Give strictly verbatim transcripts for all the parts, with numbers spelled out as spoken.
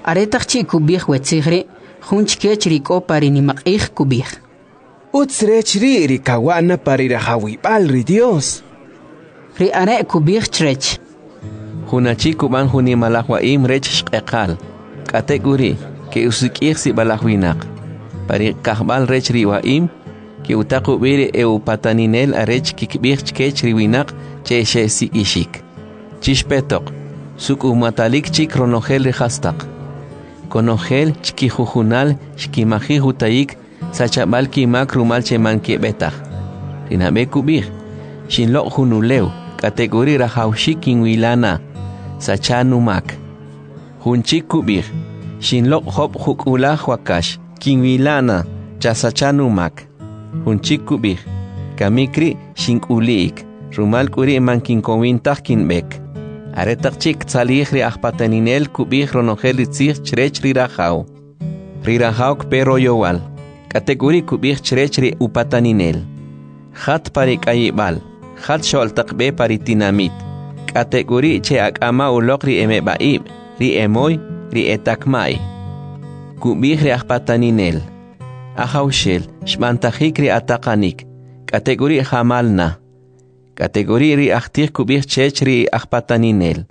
Aretaq chi' kub'ij we tzij ri', jun chkech ri k'o pa ri nimaq'ij kub'ij: Utz rech ri' ri kawa' na pa ri rajawib'al ri Dios. Ri are' kub'ij chrech: Jun achi kub'an jun nimalaj wa'im rech xq'eqal, k'atek'uri' ke'usik'ij sib'alaj winaq. Pa ri kajb'al rech ri wa'im, ke'utaq ub'i ri e'upataninel arech kkib'ij chkech ri winaq che xesik'ixik: Chixpetoq, suk'umatalik chik ronojel ri jastaq. Konojel chkijujunal xkimajij utayik sachab'al kimak rumal che man keb'e taj. Ri nab'e kub'ij: Xinloq' jun ulew, k'atek'uri' rajawaxik kinwila na, sacha numak. Jun chik kub'ij: Xinloq' job' juk'ulaj wakax, kinwila na, chasacha numak. Jun chik kub'ij: Kamik ri' xink'uli'ik, rumal k'u ri' man kinkowin taj kinb'ek. Aretaq chi' ktzalij ri ajpataninel kub'ij ronojel ri tzij chrech ri rajaw. Ri rajaw kpe royowal, k'atek'uri' kub'ij chrech ri upataninel: Jat pa ri k'ayib'al, jat xo'l taq b'e pa ri tinamit, k'atek'uri' che'ak'ama' uloq ri emeb'a'ib', ri emoy, ri etakma'y. Kub'ij ri ajpataninel: Ajawxel, xb'antajik ri ataqanik, k'atek'uri' jamal na. K'atek'uri' ri ajtij kub'ij chech ri ajpataninel: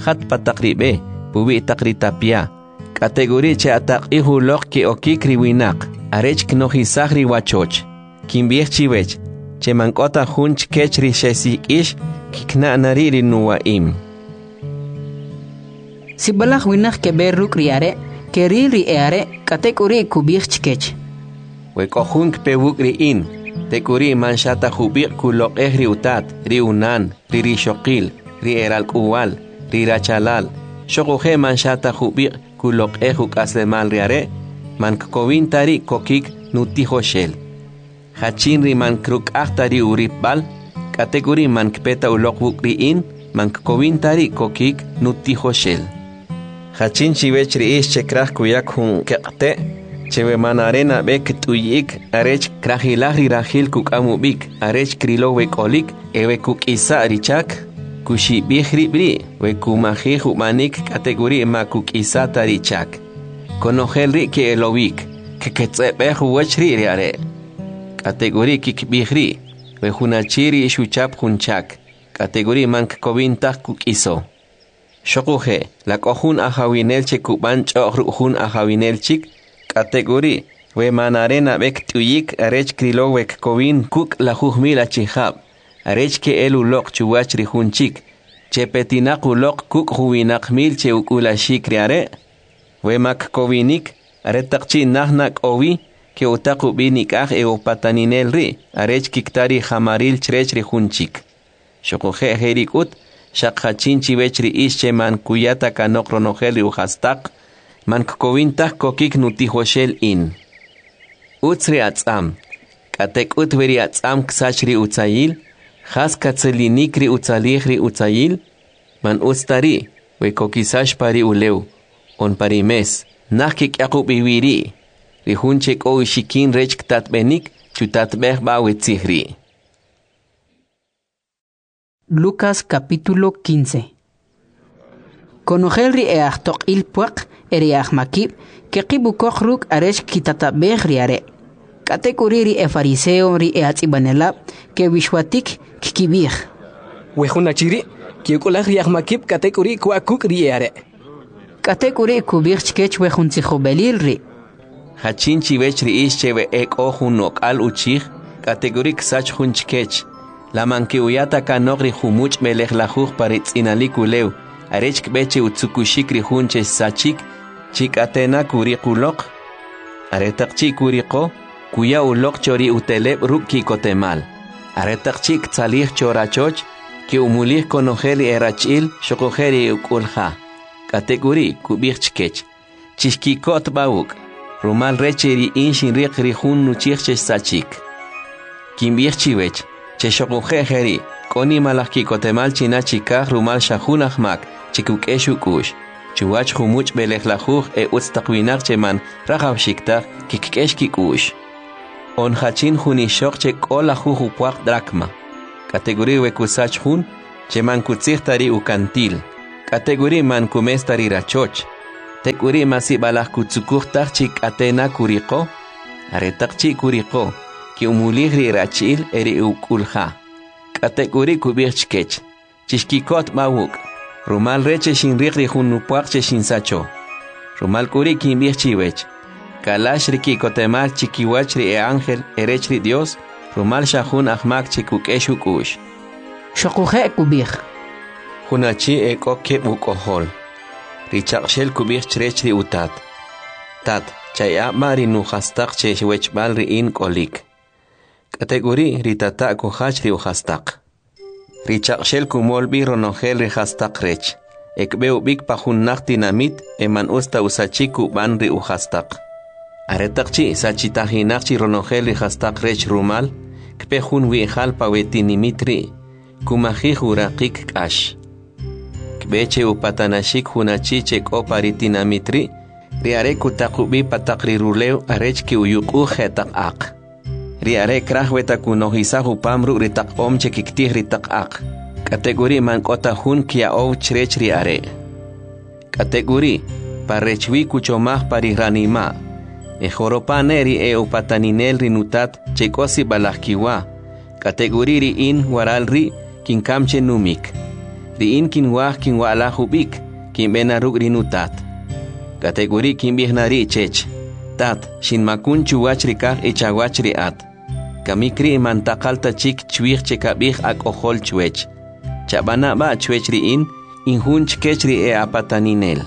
Jat pa taq ri b'e, puwi' taq ri tapya, k'atek'uri' che'ataq'ij uloq ke'okik ri winaq, arech knojisaj ri wachoch. Kinb'ij chiwech, che man k'o ta jun chkech ri xesik'ix kkina' na ri' ri nuwa'im. Sib'alaj winaq keb'e ruk' ri are', keril ri e'are', k'atek'uri' kub'ij chkech: We k'o jun kpe wuk' ri in, tek'uri' man xa ta jub'iq' kuloq'ej ri utat, ri unan, ri rixoqil, ri eralk'uwa'l, ri rachalal, xoquje' man xa ta jub'iq' kuloq'ej uk'aslemal ri are', man kkowin ta ri' kokik nutijoxel. Jachin ri man kruk'aj ta ri uripb'al, k'atek'uri' man kpe ta uloq wuk' ri in, man kkowin ta ri' kokik nutijoxel. Jachin chiwech ri ix che kraj kuyak jun keq'te', che we man are nab'e kt'uyi'ik arech krajilaj ri rajil kuk'am ub'ik arech krilo we k'olik e we kuk'isa' ri chak, kuxib'ij rib' ri' we kumajij ub'anik k'atek'uri' ma kuk'isa' ta ri chak. Konojel ri' ke'elowik, kketz'eb'ej uwach ri' ri are'. K'atek'uri' kikb'ij ri': We jun achi ri xuchap jun chak, k'atek'uri' man kkowin taj kuk'iso. Xoquje', la k'o jun ajawinel che kub'an ch'o'j ruk' jun ajawinel chik, k'atek'uri' we man are nab'e kt'uyik arech krilo we kkowin kuk' lajuj mil achijab', arech ke'el uloq chuwach ri jun chik, che petinaq uloq kuk' juwinaq mil che uk'ulaxik ri are'? We ma kkowinik, aretaq chi' naj na k'o wi, ke'utaq ub'i nik'aj e'upataninel ri' arech kikta ri ja'maril chrech ri jun chik. Xoquje' jeri' k'ut, xaq jachin chiwech ri ix che man kuya ta kanoq ronojel ri ujastaq, man kkowin taj kokik nutijoxel in. Utz ri atz'am, k'atek'ut we ri atz'am ksach ri utzayil, jas katzilinik ri utzalij ri utzayil? Man utz ta ri' we kokisax pa ri ulew, on pa ri mes, naj kik'yaq ub'i wi ri'. Ri jun che k'o uxikin rech ktatb'enik, chutatb'ej b'a we tzij ri'. Lucas capítulo quince. Konojel ri e'ajtoq'il pwaq e ri e'ajmakib' keqib' ukoq ruk' arech kkitatab'ej ri are'. K'atek'uri' ri efariseo, ri e'ajtz'ib'anelab' kewixwatik kkib'ij: We jun achi ri' ke'uk'ulaj ri ajmakib' k'atek'uri' kwa' kuk' ri e'are'. K'atek'uri' kub'ij chkech we jun tzijob'elil ri': Jachin chiwech ri ix che we ek'o jun ok'al uchij, k'atek'uri' ksach jun chkech, la man ke'uya ta kanoq ri jumuch' b'elejlajuj pa ri tz'inalik ulew, arech kb'e che utzukuxik ri jun che xsachik, chi k'ate' na kuriq uloq? Aretaq chi' kuriqo, kuya uloq cho ri uteleb' ruk' ki'kotemal. Aretaq chi' ktzalij cho rachoch, ke'umulij konojel ri erach'il xoquje' ri uk'ulja. K'atek'uri' kub'ij chkech: Chixki'kot b'a wuk', rumal rech che ri in xinriq ri jun nuchij che xsachik. Kinb'ij chiwech, che xoquje' jeri' k'o nimalaj ki'kotemal china chikaj rumal xa jun ajmak che kuk'ex uk'u'x, chuwach jumuch' b'elejlajuj e utz taq winaq che man rajawxik taj kikk'ex kik'u'x. On jachin jun ixoq che k'o lajuj upwaq dracma, k'atek'uri' we kusach jun, che man kutzij ta ri ukantil, k'atek'uri' man kumes ta ri rachoch, Tek'uri' ma sib'alaj kutzukuj taj chi k'ate na kuriqo? Aretaq chi' kuriqo, ke'umulij ri erachi'l e ri uk'ulja. K'atek'uri' kub'ij chkech: Chixki'kot b'a wuk', rumal rech che xinriq ri jun nupwaq che xinsacho. Rumal k'uri' kinb'ij chiwech, kalax ri ki'kotemal chikiwach ri e'anjel erech ri Dyos, rumal xa jun ajmak che kuk'ex uk'u'x. Xoquje' kub'ij: Jun achi ek'o keb' uk'ojol. Ri chaq'xel kub'ij chrech ri utat: Tat, chaya'a b'a' ri nujastaq che wechb'al ri in k'olik. K'atek'uri', ri tata' kujach ri ujastaq. Ri chaq'xel kumol b'i ronojel ri jastaq rech, e kb'e ub'ik pa jun naj tinamit e man utz ta usachik kub'an ri ujastaq. Aretaq chi' sachitajinaq chi ronojel ri jastaq rech rumal, kpe jun wi'jal pa we tinimit ri', kumajij uraqik k'ax. Kb'e che upatanaxik jun achi che k'o pa ri tinamit ri', ri are' kutaq ub'i pa taq ri rulew arech ke'uyuq'uj jetaq aq. Ri are' kraj weta kunojisaj upam ruk' ri taq om che kiktij ri taq aq, k'atek'uri' man k'o ta jun kya'ow chrech ri are'. K'atek'uri', pa rech wi kuchomaj pa ri ranima': E joropa' ne' ri e'upataninel ri nutat che k'o sib'alaj kiwa, k'atek'uri' ri in waral ri' kinkam che numik. Ri in kinwaj kinwa'laj ub'ik, kinb'e na ruk' ri nutat. K'atek'uri' kinb'ij na ri' chech: Tat, xinmakun chuwach ri kaj e chawach ri at. Kamik ri' man taqal ta chik chwij che kab'ij ak'ojol chwech. Chab'ana' b'a' chwech ri in, in jun chkech ri e'apataninel.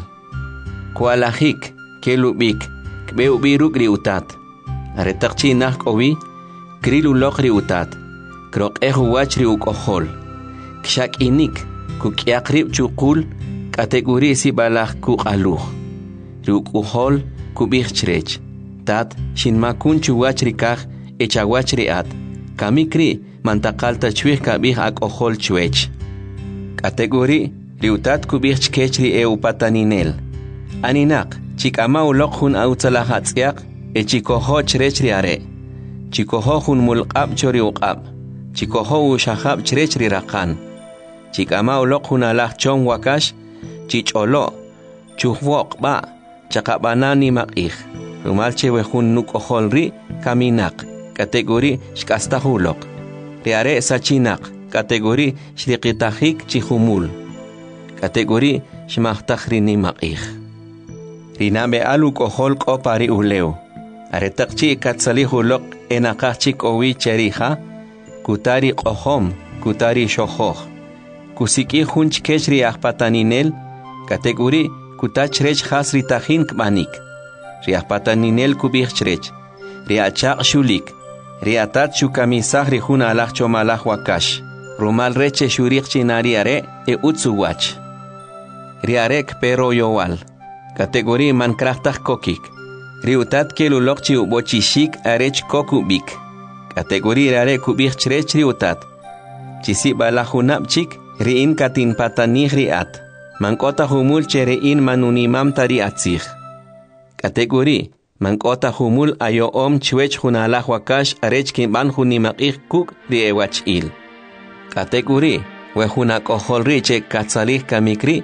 Kwa'lajik, kel ub'ik, kb'e ub'i ruk' ri utat. Aretaq chi' naj k'o wi, kril uloq ri utat, kroq'ej uwach ri uk'ojol. Kxak'inik, kuk'yaq rib' chuqul, k'atek'uri' sib'alaj kuq'aluj. Ri uk'ojol kub'ij chrech: Tat, xinmakun chuwach ri kaj e chawach ri at. Kamik ri' man taqal ta chwij kab'ij ak'ojol chwech. K'atek'uri', ri utat kub'ij chkech ri e'upataninel: Aninaq, chik'ama uloq jun utzalaj atz'yaq e chikojo' chrech ri are'. Chikojo' jun mulq'ab' cho ri uq'ab', chikojo' uxajab' chrech ri raqan. Chik'ama uloq jun alaj chom wakax, chich'olo', chujwo'q b'a', chaqab'ana nimaq'ij, rumal che we jun nuk'ojol ri' kaminaq, k'atek'uri' xk'astaj uloq. Ri are' sachinaq, k'atek'uri' xriqitajik chi jumul. K'atek'uri' xmajtaj ri nimaq'ij. Ri nab'e'al uk'ojol k'o pa ri ulew. Aretaq chi' katzalij uloq e naqaj chik k'o wi che ri ja, kuta ri q'ojom, kuta ri xojoj. Kusik'ij jun chkech ri ajpataninel, k'atek'uri' kuta chrech jas ri tajin kb'anik. Ri ajpataninel kub'ij chrech: Ri achaq' xulik, ri atat xukamisaj ri jun alaj chomalaj wakax, rumal rech che xuriq chi na ri are' e utz uwach. Ri are' kpe royowal, k'atek'uri' man kraj taj kokik. Ri utat kel uloq chi ub'ochixik arech kok ub'ik. K'atek'uri' ri are' kub'ij chrech ri utat: Chi sib'alaj junab' chik, ri in katinpatanij ri at. Man k'o ta jumul che ri in man nunimam ta ri atzij. K'atek'uri', man k'o ta jumul ayo'om chwech jun alaj wakax arech kinb'an jun nimaq'ij kuk' ri ewach'il. K'atek'uri', we jun ak'ojol ri' che katzalij kamik ri',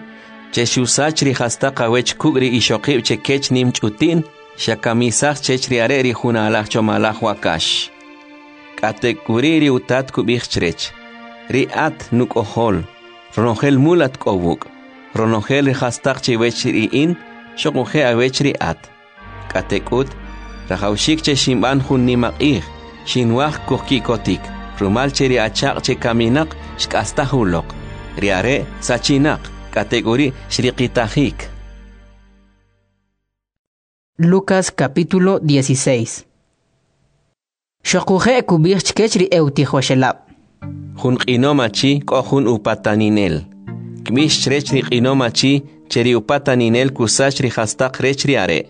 che xusach ri jastaq awech kuk' ri ixoqib' che kech nim ch'uti'n, xakamisaj chech ri are' ri jun alaj chomalaj wakax. K'atek'uri' ri utat kub'ij chrech: Ri at nuk'ojol, ronojel mul at k'o wuk', ronojel ri jastaq che wech ri in, xoquje' awech ri at. K'atek'ut, rajawxik che xinb'an jun nimaq'ij, xinwaj kujki'kotik, rumal che ri achaq' che kaminaq xk'astaj uloq, ri are' sachinaq, k'atek'uri' xriqitajik. Lucas capítulo dieciséis. Xoquje' kub'ij chkech ri e'utijoxelab'. Jun q'inom achi k'o jun upataninel. Kb'ix chrech ri q'inom achi che ri upataninel kusach ri jastaq rech ri are'.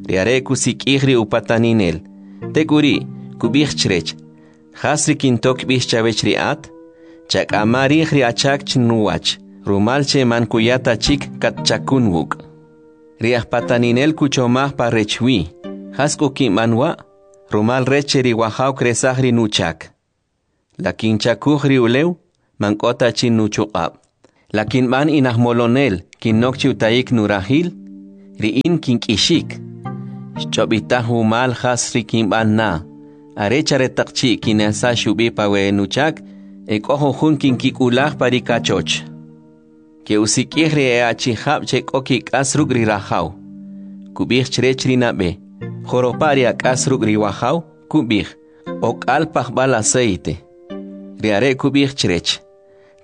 Ri are' kusik'ij ri upataninel. Tek'uri', kub'ij chrech: Jas ri kinto kb'ix chawech ri at? Chak'ama rij ri achak chinuwach, rumal che man kuya ta chik katchakun wuk'. Ri ajpataninel kuchomaj pa rech wi: Jas k'u kinb'an wa'? Rumal rech che ri wajaw kresaj ri nuchak. La kinchakuj ri ulew? Man k'o ta chi nuchuq'ab'. La kinb'an inajmolonel, kinok chi utayik nurajil? Ri in kink'ixik. Xch'ob'itaj wumal jas ri kinb'an na, arech aretaq chi' kinesax ub'i pa we nuchak, e k'o jujun kinkik'ulaj pa ri kachoch. Ke'usik'ij ri e achijab' che k'o kik'as ruk' ri rajaw. Kub'ij chrech ri nab'e: Joropa' ri ak'as ruk' ri wajaw? Kub'ij: Ok'al pajb'al aceite. Ri are' kub'ij chrech: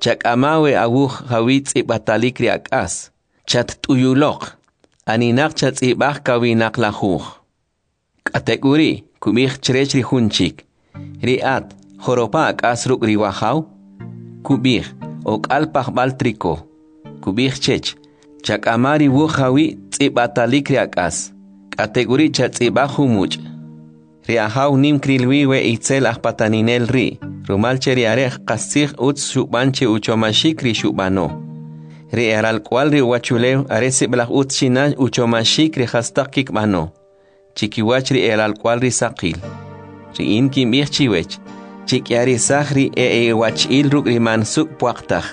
Chak'ama we awuj jawi' tz'ib'atalik ri ak'as, chatt'uyuloq, aninaq chatz'ib'aj kawinaq lajuj. K'atek'uri', kub'ij chrech ri jun chik: Ri at, joropa' ak'as ruk' ri wajaw? Kub'ij: Ok'al pajb'al triko. Kub'ij chech: Chak'ama ri wuj jawi' tz'ib'atalik ri ak'as, k'atek'uri' chatz'ib'aj jumuch'. Ri ajaw nim kril wi we itzel ajpataninel ri', rumal che ri are' qastzij utz xub'an che uchomaxik ri xub'ano. Ri eralk'uwa'l ri uwachulew are sib'alaj utz chi na uchomaxik ri jastaq kikb'ano, chikiwach ri eralk'uwa'l ri saqil. Ri in kinb'ij chiwech, chik'yarisaj ri e iwachi'l ruk' ri man suk' pwaq taj,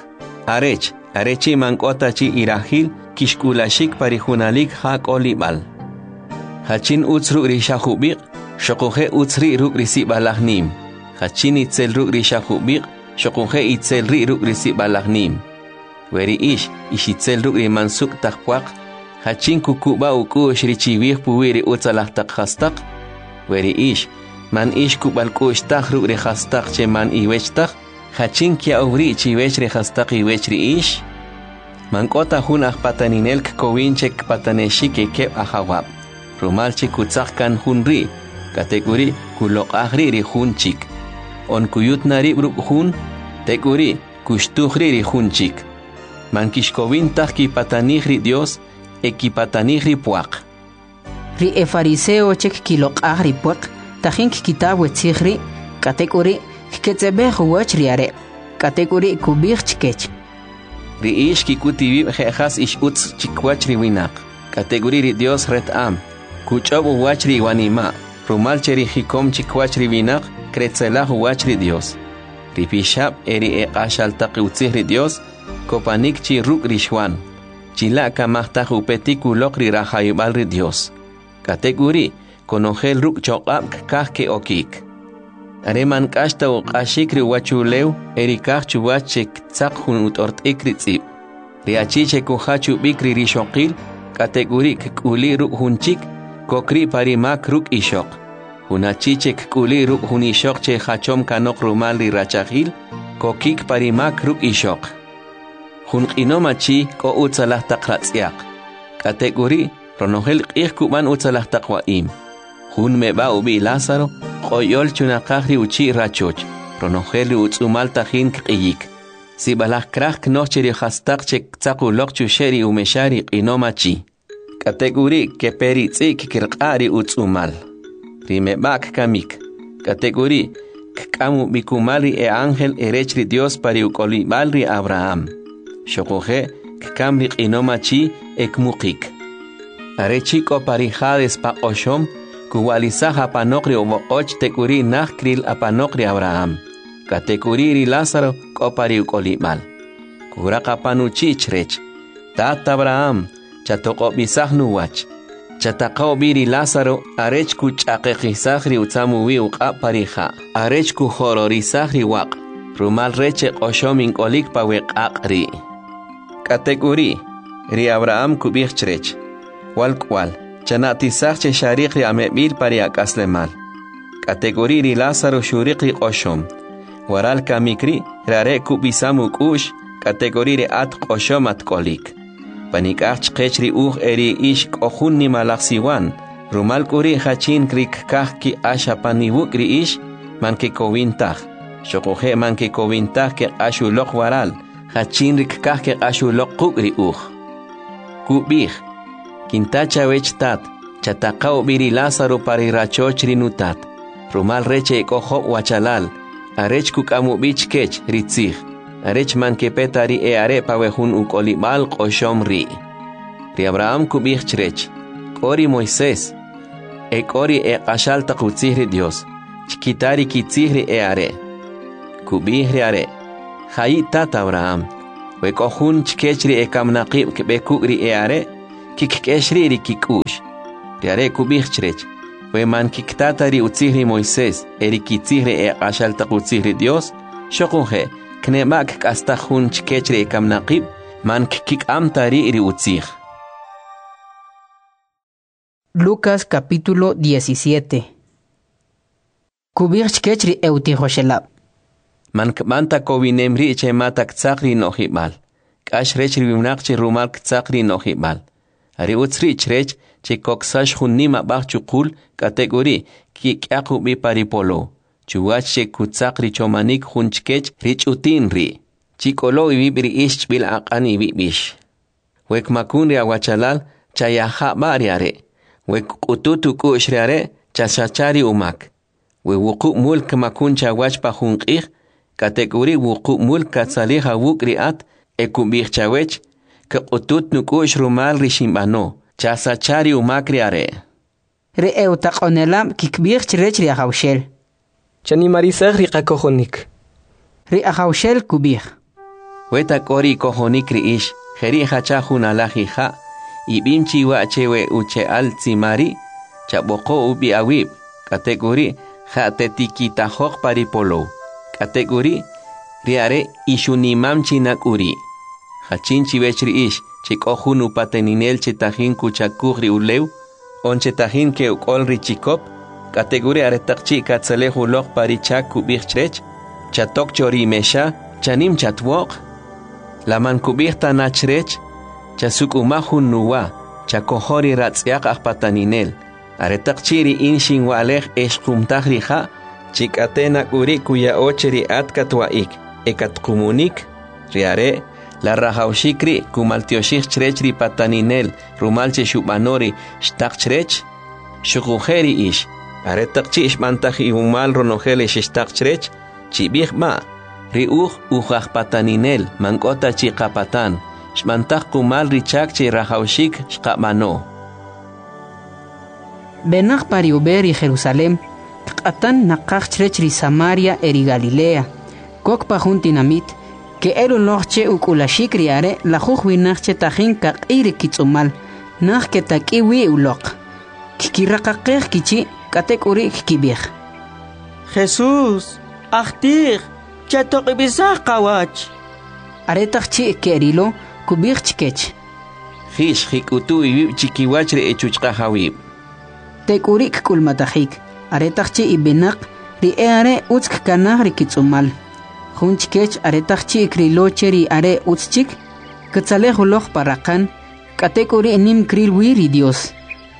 arech, are chi' man k'o ta chi irajil, kixk'ulaxik pa ri junalik ja k'olib'al. Jachin utz ruk' ri xa jub'iq', xoquje' utz ri' ruk' ri sib'alaj nim. Jachin itzel ruk' ri xa jub'iq', xoquje' itzel ri' ruk' ri sib'alaj nim. We ri ix, ix itzel ruk' ri man suk' taj pwaq, jachin kukub'a uk'u'x ri chiwij puwi' ri utzalaj taq jastaq? We ri ix, man ix kub'al k'u'x taj ruk' ri jastaq che man iwech taj, jachin kya'ow ri' chiwech ri jastaq iwech ri ix? Man k'o ta jun ajpataninel kkowin che kpatanexik e keb' ajawab', rumal che kutzaq kan jun ri', k'atek'uri' kuloq'aj ri' ri jun chik. On kuyut na rib' ruk' jun, tek'uri' kuxtuj ri' ri jun chik. Man kixkowin taj kipatanij ri Dios e kipatanij ri pwaq. Ri efariseo che kkiloq'aj ri pwaq tajin kkita we tzij ri', k'atek'uri' kketz'eb'ej uwach ri are'. K'atek'uri' kub'ij chkech: Ri ix kik'ut iwib' je' jas ix utz chikiwach ri winaq, k'atek'uri' ri Dios reta'am, kuch'ob' uwach ri iwanima', rumal che ri jikom chikiwach ri winaq kretzelaj uwach ri Dios. Ri pixab' e ri eq'axal taq utzij ri Dios kopanik chi ruk' ri Xwan, chila' kamajtaj upetik uloq ri rajawib'al ri Dios. K'atek'uri' konojel ruk' choq'ab' kkaj ke'okik. Are man k'ax ta uq'axik ri uwachulew e ri kaj chuwach che ktzaq jun ut'ort'ik ri tz'ib'. Ri achi che kujach ub'ik ri rixoqil, k'atek'uri' kk'uli' ruk' jun chik, kok ri' pa ri mak ruk' ixoq. Jun achi che kk'uli' ruk' jun ixoq che jachom kanoq rumal ri rachajil, kokik pa ri mak ruk' ixoq. Jun q'inom achi k'o utzalaj taq ratz'yaq. K'atek'uri' ronojel q'ij kub'an utzalaj taq wa'im. Jun meb'a ub'i' Lázaro, q'oyol chunaqaj ri uchi' rachoch, ronojel ri utz'umal tajin kq'iyik. Sib'alaj kraj knoj che ri jastaq che ktzaq uloq chuxe' ri umexa ri q'inom achi. K'atek'uri' kepe ri tz'i' kkirq'a' ri utz'umal. Ri meb'a' kkamik. K'atek'uri' kk'am ub'i kumal ri e ángel erech ri Dios pa ri uk'olib'al ri Abraham. Xoquje' kkam ri q'inom achi e kmuqik. Are chi' k'o pa ri Hades pa q'oxom, kuwa'lisaj apanoq ri uwoq'och tek'uri' naj kril apanoq ri Abraham. K'atek'uri' ri Lázaro k'o pa ri uk'olib'al. Kuraq apan uchi' chrech: Tat Abraham, chatoq'ob'isaj nuwach. Chataqa ub'i ri Lázaro arech kuch'aqeqisaj ri utzam uwi' uq'ab' pa ri ja', arech kujororisaj ri waq', rumal rech che q'oxom ink'olik pa we q'aq' ri'. K'atek'uri', ri Abraham kub'ij chrech: Walk'wal, chana'tisaj che xariq ri ameb'il pa ri ak'aslemal. K'atek'uri' ri Lázaro xuriq ri q'oxom. Waral kamik ri', ri are' kub'isam uk'u'x, k'atek'uri' ri at q'oxom atk'olik. Panik'aj chqech ri uj e ri ix k'o jun nimalaj siwan, rumal k'u ri' jachin ri kkaj kiq'ax apan iwuk' ri ix, man kekowin taj. Xoquje' man kekowin taj keq'ax uloq waral, jachin ri kkaj keq'ax uloq quk' ri uj. Kub'ij: Kinta chawech tat, chataqa ub'i ri Lázaro pa ri rachoch ri nutat, rumal rech e k'o job' wachalal, arech kuk'am ub'i chkech ri tzij, arech man kepe ta ri e are' pa we jun uk'olib'al q'oxom ri'. Ri Abraham kub'ij chrech: K'o ri Moisés, e k'o ri eq'axal taq utzij ri Dios, chkita ri kitzij ri e are'. Kub'ij ri are': Ja'i tat Abraham, we k'o jun chkech ri ekaminaqib' kb'e kuk' ri e are', Kkik'ex ri' ri kik'u'x. Ri are' kub'ij chrech: We man kikta ta ri utzij ri Moisés e ri kitzij ri eq'axal taq utzij ri Dyos, xoquje' kneb'a' kk'astaj jun chkech ri ekaminaqib', man kkik'am ta ri' ri utzij. Lucas capítulo diecisiete. Kub'ij chkech ri e'utijoxelab'. Man kb'an ta kowinem ri' che mata ktzaq ri no'jib'al. K'ax rech ri winaq che rumal ktzaq ri no'jib'al. Are utz ri' chrech che koksax jun nim ab'aj chuqul, k'atek'uri' kik'yaq ub'i pa ri polow, chuwach che kutzaq ri chomanik jun chkech ri ch'uti'n ri'. Chik'olo iwib' ri ix chb'il aq'an iwib' ix. We kmakun ri awachalal, chayaja' b'a' ri are'. We kq'utut uk'u'x ri are', chasacha ri umak. We wuqub' mul kmakun chawach pa jun q'ij, k'atek'uri' wuqub' mul katzalij awuk' ri at e kub'ij chawech: Kq'utut nuk'u'x rumal ri xinb'ano, chasacha ri umak ri are'. Ri e'utaq'onelab' kikb'ij chrech ri Ajawxel: Chanimarisaj ri qakojonik. Ri Ajawxel kub'ij: We ta k'o ri ikojonik ri ix, jeri' jacha jun alaj ija', ib'im chiwa che we uche'al tzima ri', chab'oqo ub'i awib', k'atek'uri' ja'tetikitajoq pa ri polow. K'atek'uri', ri are' ixunimam chinak'uri'. Jachin chiwech ri ix, che k'o jun upataninel che tajin kuchakuj ri ulew, on che tajin ke'uk'ol ri chikop, k'atek'uri' aretaq chi' katzalej uloq pa ri chak kub'ij chrech: Chatok cho ri mexa, chanim chatwo'q. La man kub'ij ta na chrech: Chasuk'umaj jun nuwa, chakojo ri ratz'yaq ajpataninel. Aretaq chi' ri in xinwa'lej e xqumtaj ri ja', chi k'ate nak'uri' kuya'o che ri at katwa'ik e katqumunik. Ri are' la rajawxik ri' kumaltyoxij chrech ri pataninel rumal che xub'ano ri xtaq chrech. Xuquje' ri ix, aretaq chi' xb'antaj iwumal ronojel ri xixtaq chrech, chib'ij b'a': Ri uj uj ajpataninel man k'o ta chi qapatan, xb'antaj qumal ri chak che rajawxik xqab'ano. B'enaq pa ri ub'e ri Jerusalem, kq'atan naqaj chrech ri Samaria e ri Galilea. Kok pa jun tinamit, ke'el uloq che uk'ulaxik ri are' lajuj winaq che tajin kaq'i ri kitz'umal, naj ketak'i wi uloq. Kkiraqaqej kichi', k'atek'uri' kkib'ij: Jesús, ajtij, chatoq'ib'isaj qawach. Aretaq chi' ke'rilo, kub'ij chkech: Jix jik'utu iwib' chikiwach ri echuchqajawib'. Tek'uri' kk'ulmatajik, aretaq chi' ib'inaq, ri e'are' utz kkanaj ri kitz'umal. Jun chkech aretaq chi' krilo che ri are' utz chik, katzalej uloq pa raqan, k'atek'uri' nim kril wi ri Dios.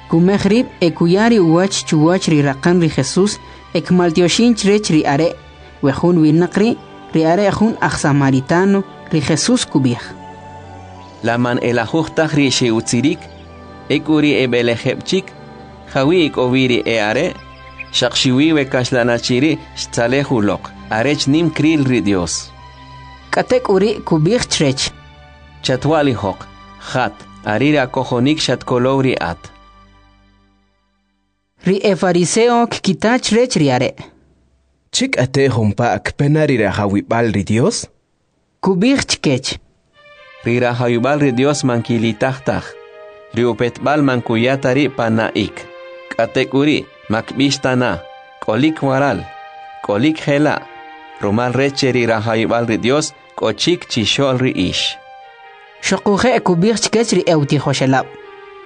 Kumej rib' e kuya ri uwach chuwach ri raqan ri Jesús e kmaltyoxin chrech ri are'. We jun winaq ri', ri are' jun aj samaritano, ri Jesús kub'ij: La man elajuj taj ri xe'utzirik, ek'u ri eb'elejeb' chik, jawi' k'o wi ri e'are', xaq xiwi we kaxlan achi ri' xtzalej uloq, arech nim kril ri Dios. K'atek'uri' kub'ij chrech: Chatwa'lijoq, jat, are ri akojonik xatkolow ri at. Ri efariseo kkita chrech ri are': Che k'ate jumpa' kpe na ri rajawib'al ri Dios? Kub'ij chkech: Ri rajawib'al ri Dios man kilitaj taj, ri upetb'al man kuya ta ri' pa na'ik. K'atek'uri' makb'ix ta na, k'olik waral, k'olik jela', rumal rech che ri rajawib'al ri Dios k'o chik chixo'l ri ix. Xuquje' kub'ij chkech ri e'utijoxelab':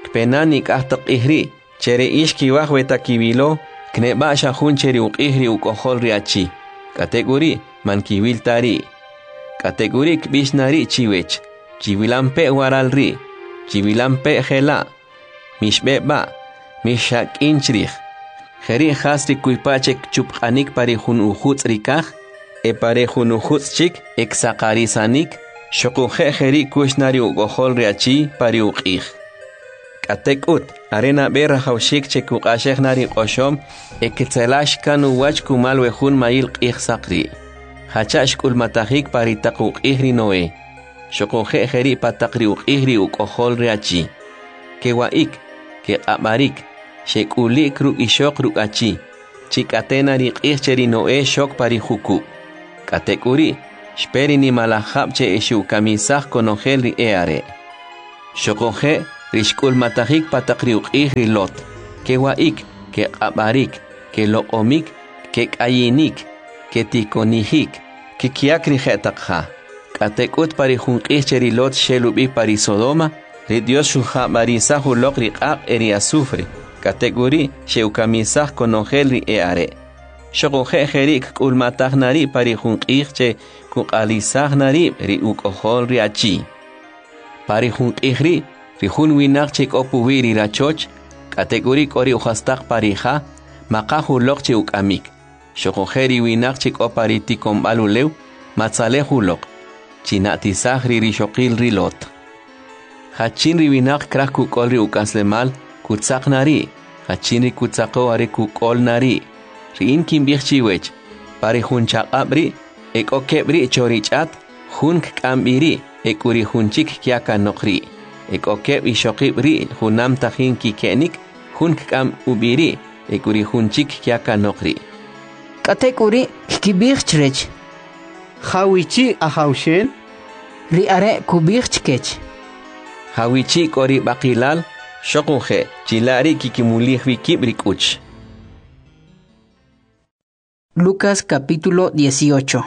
Kpe na nik'aj taq q'ij ri', che ri ix kiwaj we ta kiwilo, kneb'a' xa jun che ri uq'ij ri uk'ojol ri achi. K'atek'uri' man kiwil ta ri'. K'atek'uri' kb'ix na ri' chiwech: Chiwilampe' waral ri', chiwilampe' jela', mixb'e b'a', mixxak'in chrij. Jeri' jas ri kuypa' che kchupq'anik pa ri jun ujutz' ri kaj, e pa ri jun ujutz' chik e ksaqarisanik, xuquje' jeri' kux na ri uk'ojol ri achi pa ri uq'ij. K'atek'ut, are nab'e rajawxik che kuq'axej na ri q'oxom e ketzelax kan uwach kumal we jun mayil q'ij saq ri'. Jacha' xk'ulmatajik pa ri taq uq'ij ri Noé, xuquje' jeri' pa taq ri uq'ij ri uk'ojol ri achi. Kewa'ik, keq'ab'arik, xek'ulik ruk' ixoq ruk' achi, chi k'ate na ri q'ij che ri Noé xok pa ri jukub'. K'atek'uri', xpe ri nimalaj jab' che xe'ukamisaj konojel ri e'are'. Xuquje' ri xk'ulmatajik pa taq ri uq'ij ri Lot, kewa'ik, keq'ab'arik, keloq'omik, kek'ayinik, ketikonijik, kkiyak ri je'taq ja. K'atek'ut pa ri jun q'ij che ri Lot xel ub'i pa ri Sodoma, ri Dyos xujab'arisaj uloq ri q'aq' e ri asufre, k'atek'uri' xe'ukamisaj konojel ri e'are'. Xoquje' jeri' kk'ulmataj na ri' pa ri jun q'ij che kuq'alisaj na rib' ri uk'ojol ri achi. Pa ri jun q'ij ri', ri jun winaq che k'o puwi' ri rachoch, k'atek'uri' k'o ri ujastaq pa ri ja, maqaj uloq che uk'amik. Xoquje' ri winaq che k'o pa ri tikonb'al ulew, matzalej uloq. China'tisaj ri rixoqil ri Lot. Jachin ri winaq kraj kuk'ol ri uk'aslemal, kutzaq na ri', jachin ri kutzaqo are kuk'ol na ri'. Ri in kinb'ij chiwech, pa ri jun chaq'ab' ri', e k'o keb' ri' cho ri ch'at, jun kk'am b'i ri' e k'u ri jun chik kya kanoq ri'. E k'o keb' ixoqib' ri' junam tajin kike'nik, jun kk'am ub'i ri' e k'u ri jun chik kya kanoq ri'. K'atek'uri' kkib'ij chrech: Jawichi' Ajawxel? Ri are' kub'ij chkech: Jawichi' k'o ri b'aqilal, xoquje' chila' ri' kikimulij wi kib' ri k'uch. Lucas capítulo dieciocho.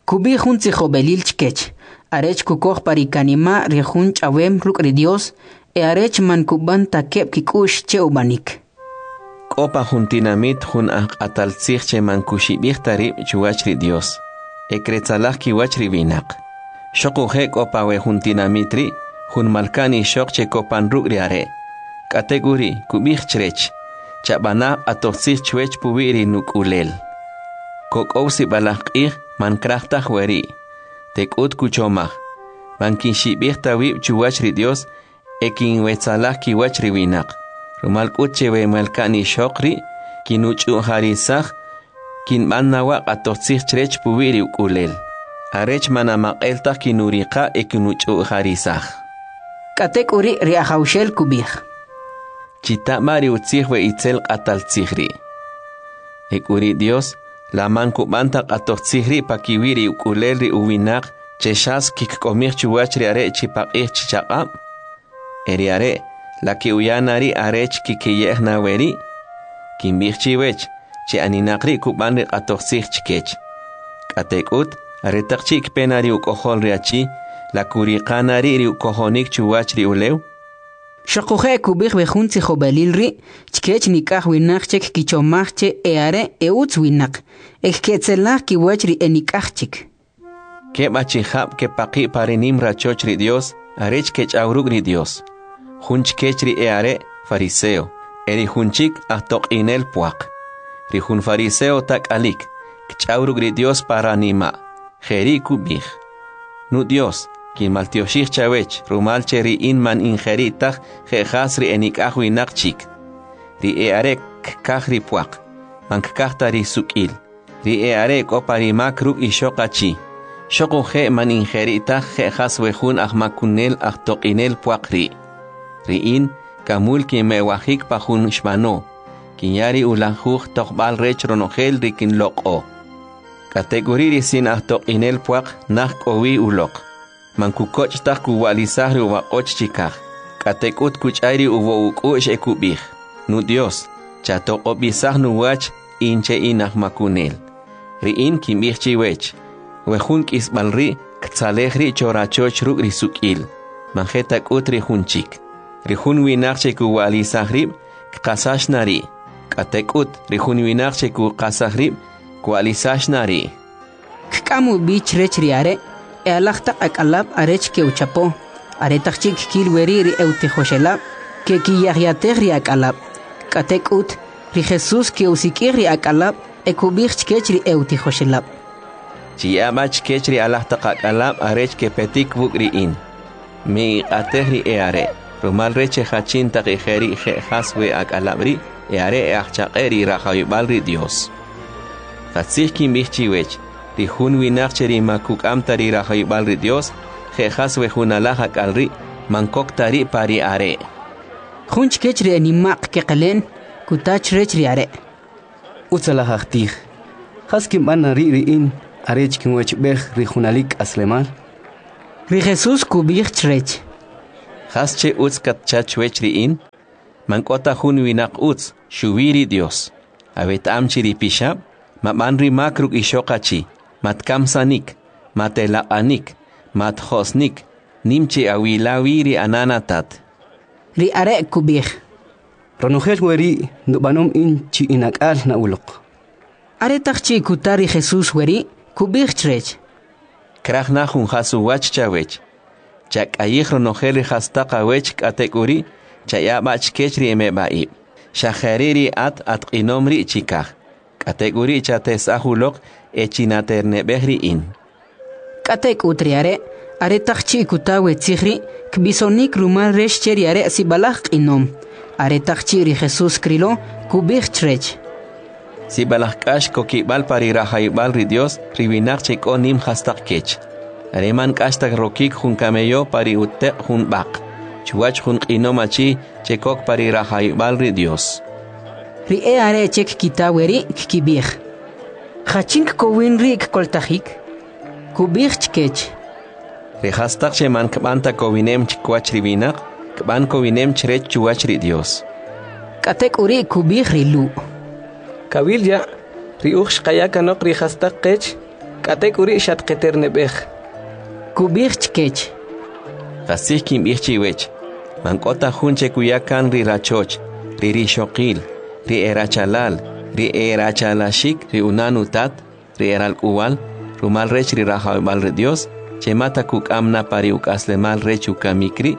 Kub'ij jun tzijob'elil chkech, arech kukoj pa ri kanima' ri jun ch'awem ruk' ri Dios e arech man kub'an ta keb' kik'u'x che ub'anik. K'o pa jun tinamit jun ajq'atal tzij che man kuxib'ij ta rib' chuwach ri Dios, e kretzalaj kiwach ri winaq. Xoquje' k'o pa we jun tinamit ri', jun malka'n ixoq che kopan ruk' ri are'. K'atek'uri' kub'ij chrech: Chab'ana q'atojtzij chwech puwi' ri nuk'ulel. Kok'ow sib'alaj q'ij man kraj taj weri'. Tek'ut kuchomaj: Man kinxib'ij ta wib' chuwach ri Dios e kinwetzalaj kiwach ri winaq. Rumal k'ut che we malka'n ixoq ri' kinuch'u'jarisaj, kinb'an na wa' q'atojtzij chrech puwi' ri uk'ulel, arech man amaq'el taj kinuriqa' e kinuch'u'jarisaj. K'atek'uri' ri Ajawxel kub'ij: Chita b'a ri utzij we itzel q'atal tzij ri'. E k'u ri Dios, la man kub'an ta q'atojtzij ri' pakiwi' ri uk'ulel ri uwinaq che xas kikk'omij chuwach ri are' chi paq'ij chi chaq'ab'? E ri are', la ke'uya na ri' arech kikeye'j na weri'? Kinb'ij chiwech, che aninaq ri' kub'an ri q'atojtzij chkech. K'atek'ut, aretaq chi' kpe na ri uk'ojol ri achi, la kuriqa na ri' ri ukojonik chuwach ri ulew? Xoquje' kub'ij we jun tzijob'elil ri' chkech nik'aj winaq che kkichomaj che e'are' e'utz winaq, e kketzelaj kiwach ri enik'aj chik. Keb' achijab' kepaqi' pa ri nim rachoch ri Dios arech kech'aw ruk' ri Dios. Jun chkech ri e'are' fariseo, e ri jun chik ajtoq'inel pwaq. Ri jun fariseo tak'alik, kch'aw ruk' ri Dios pa ranima', jeri' kub'ij: Nu Dios, kinmaltyoxij chawech, rumal che ri in man in jeri' taj je' jas ri enik'aj winaq chik. Ri e'are' kkaj ri pwaq, man kkaj ta ri suk'il. Ri e'are' k'o pa ri mak ruk' ixoq achi. Xoquje' man in jeri' taj je' jas we jun ajmakunel ajtoq'inel pwaq ri'. Ri in, kamul kinmewajik pa jun xb'ano, kinya ri ulajuj tojb'al rech ronojel ri kinloq'o. K'atek'uri' ri sin ajtoq'inel pwaq naj k'o wi uloq. Man kukoch' taj kuwa'lisaj ri uwaq'och chikaj. K'atek'ut kuch'ay ri uwo uk'u'x e kub'ij: Nu Dios, chatoq'ob'isaj nuwach in che in ajmakunel. Ri in kinb'ij chiwech, we jun k'isb'al ri' ktzalej ri' cho rachoch ruk' ri suk'il, man je ta k'ut ri jun chik. Ri jun winaq che kuwa'lisaj rib', kqasax na ri'. K'atek'ut ri jun winaq che kuqasaj rib', kwa'lisax na ri'. Kk'am ub'i chrech ri are' e alaj taq ak'alab' arech ke'uchapo. Aretaq chi' kkil weri' ri e'utijoxelab', ke'kiyajyatej ri ak'alab'. K'atek'ut, ri Jesús ke'usik'ij ri ak'alab' e kub'ij chkech ri e'utijoxelab': Chiya'a b'a chkech ri alaj taq ak'alab' arech kepetik wuk' ri in. Miq'atej ri e'are', rumal rech che jachin taq ejeri' je' jas we ak'alab' ri' e'are e'ajchaq'e ri rajawib'al ri Dios. Qatzij kinb'ij chiwech, ri jun winaq che ri ma kuk'am ta ri rajawib'al ri Dios, je' jas we jun alaj ak'al ri', man kok ta ri' pa ri are'. Jun chkech ri enima'q keqele'n kuta chrech ri are': Utzalaj ajtij, jas kinb'an na ri' ri in arech kinwechb'ej ri junalik k'aslemal? Ri Jesús kub'ij chrech: Jas che utz katcha chwech ri in? Man k'o ta jun winaq utz, xuwi ri Dios. Aweta'am chi ri pixab', mab'an ri mak ruk' ixoq achi, matkamsanik, matelaq'anik, matjo'snik, nim chi awila wi ri anan atat. Ri are' kub'ij: Ronojel weri' nub'anom in chi inak'al na uloq. Aretaq chi' kuta ri Jesús weri', kub'ij chrech: Kraj na jun jas uwach chawech. Chak'ayij ronojel ri jastaq awech k'atek'uri', chaya b'a chkech ri emeb'a'ib'. Xa jeri' ri at atq'inom ri' chikaj. K'atek'uri' chatesa'j uloq e chinaterneb'ej ri in. K'atek'ut ri are', aretaq chi' kuta we tzij ri', kb'isonik rumal rech che ri are' sib'alaj q'inom. Aretaq chi' ri Jesús krilo, kub'ij chrech: Sib'alaj k'ax kokib'al pa ri rajawib'al ri Dios ri winaq che k'o nim jastaq kech. Are man k'ax ta rokik jun kameyo pa ri uteq' jun b'aq, chuwach jun q'inom achi che kok pa ri rajawib'al ri Dios. Ri e'are' che kkita weri' kkib'ij: Jachin kkowin ri' kkoltajik? Kub'ij chkech: Ri jastaq che man kb'an ta kowinem chkiwach ri winaq, kb'an kowinem chrech chuwach ri Dios. K'atek'uri' kub'ij ri Lu': Kawil ya', ri uj xqaya kanoq ri jastaq qech, k'atek'uri' xatqeterneb'ej. Kub'ij chkech: Qastzij kinb'ij chiwech, man k'o ta jun che kuya kan ri rachoch, ri rixoqil, ri e rachalal, ri e rachalaxik, ri unan utat, ri e ralk'uwal, rumal rech ri rajawib'al ri Dios, che mata kuk'am na pa ri uk'aslemal rech ukamik ri',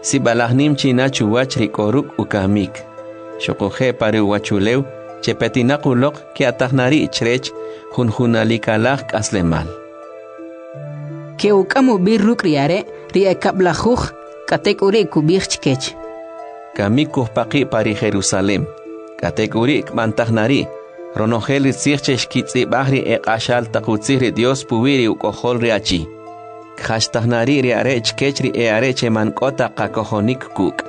sib'alaj nim china chuwach ri k'o ruk' ukamik. Xuquje' pa ri uwachulew che petinaq uloq ke'ataj na ri' chrech jun junalikalaj k'aslemal. Ke'uk'am ub'i ruk' ri are' ri e kab'lajuj, k'atek'uri' kub'ij chkech: Kamik kujpaqi' pa ri Jerusalem, k'atek'uri' kb'antaj na ri' ronojel ri tzij che xkitz'ib'aj ri e q'axal taq utzij ri Dios puwi' ri uk'ojol ri achi. Kjachtaj na ri' ri are' chkech ri e are' che man k'o ta qakojonik kuk'.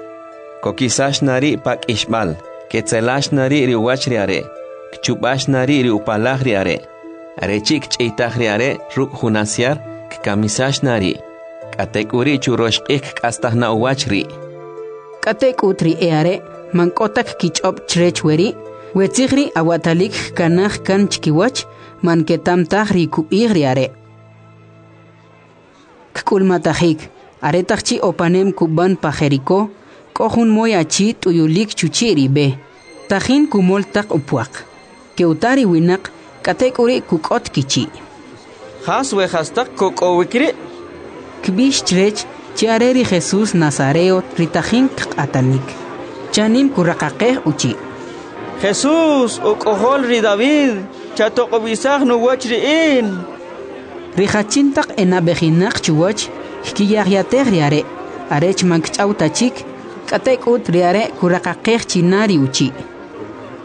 Kokisax na ri' pa k'ixb'al, ketzelax na ri' ri uwach ri are', kchub'ax na ri' ri upalaj ri are'. Are chi' kch'iytaj ri are' ruk' jun asyar, kkamisax na ri'. K'atek'uri' churox q'ij kk'astaj na uwach ri'. K'atek'ut ri e'are' man k'o ta kkich'ob' chrech weri', we tzij ri' awatalik kkanaj kan chkiwach, man keta'm taj ri kub'ij ri are'. Kk'ulmatajik, aretaq chi' opanem kub'an pa Jeriko, k'o jun moy achi t'uyulik chuchi' ri b'e, tajin kumol taq upwaq. Ke'uta ri winaq, k'atek'uri' kuk'ot kichi'. Jas we jastaq kok'owik ri'? Kb'ix chrech che are ri Jesús Nazareo ri tajin kq'atanik. Chanim kuraqaqej uchi': Jesús, uk'ojol ri David, chatoq'ob'isaj nuwach ri in. Ri jachin taq enab'ejinaq chuwach kkiyajyatej ri are', arech man kch'aw ta chik, k'atek'ut ri are' kuraqaqej china ri uchi':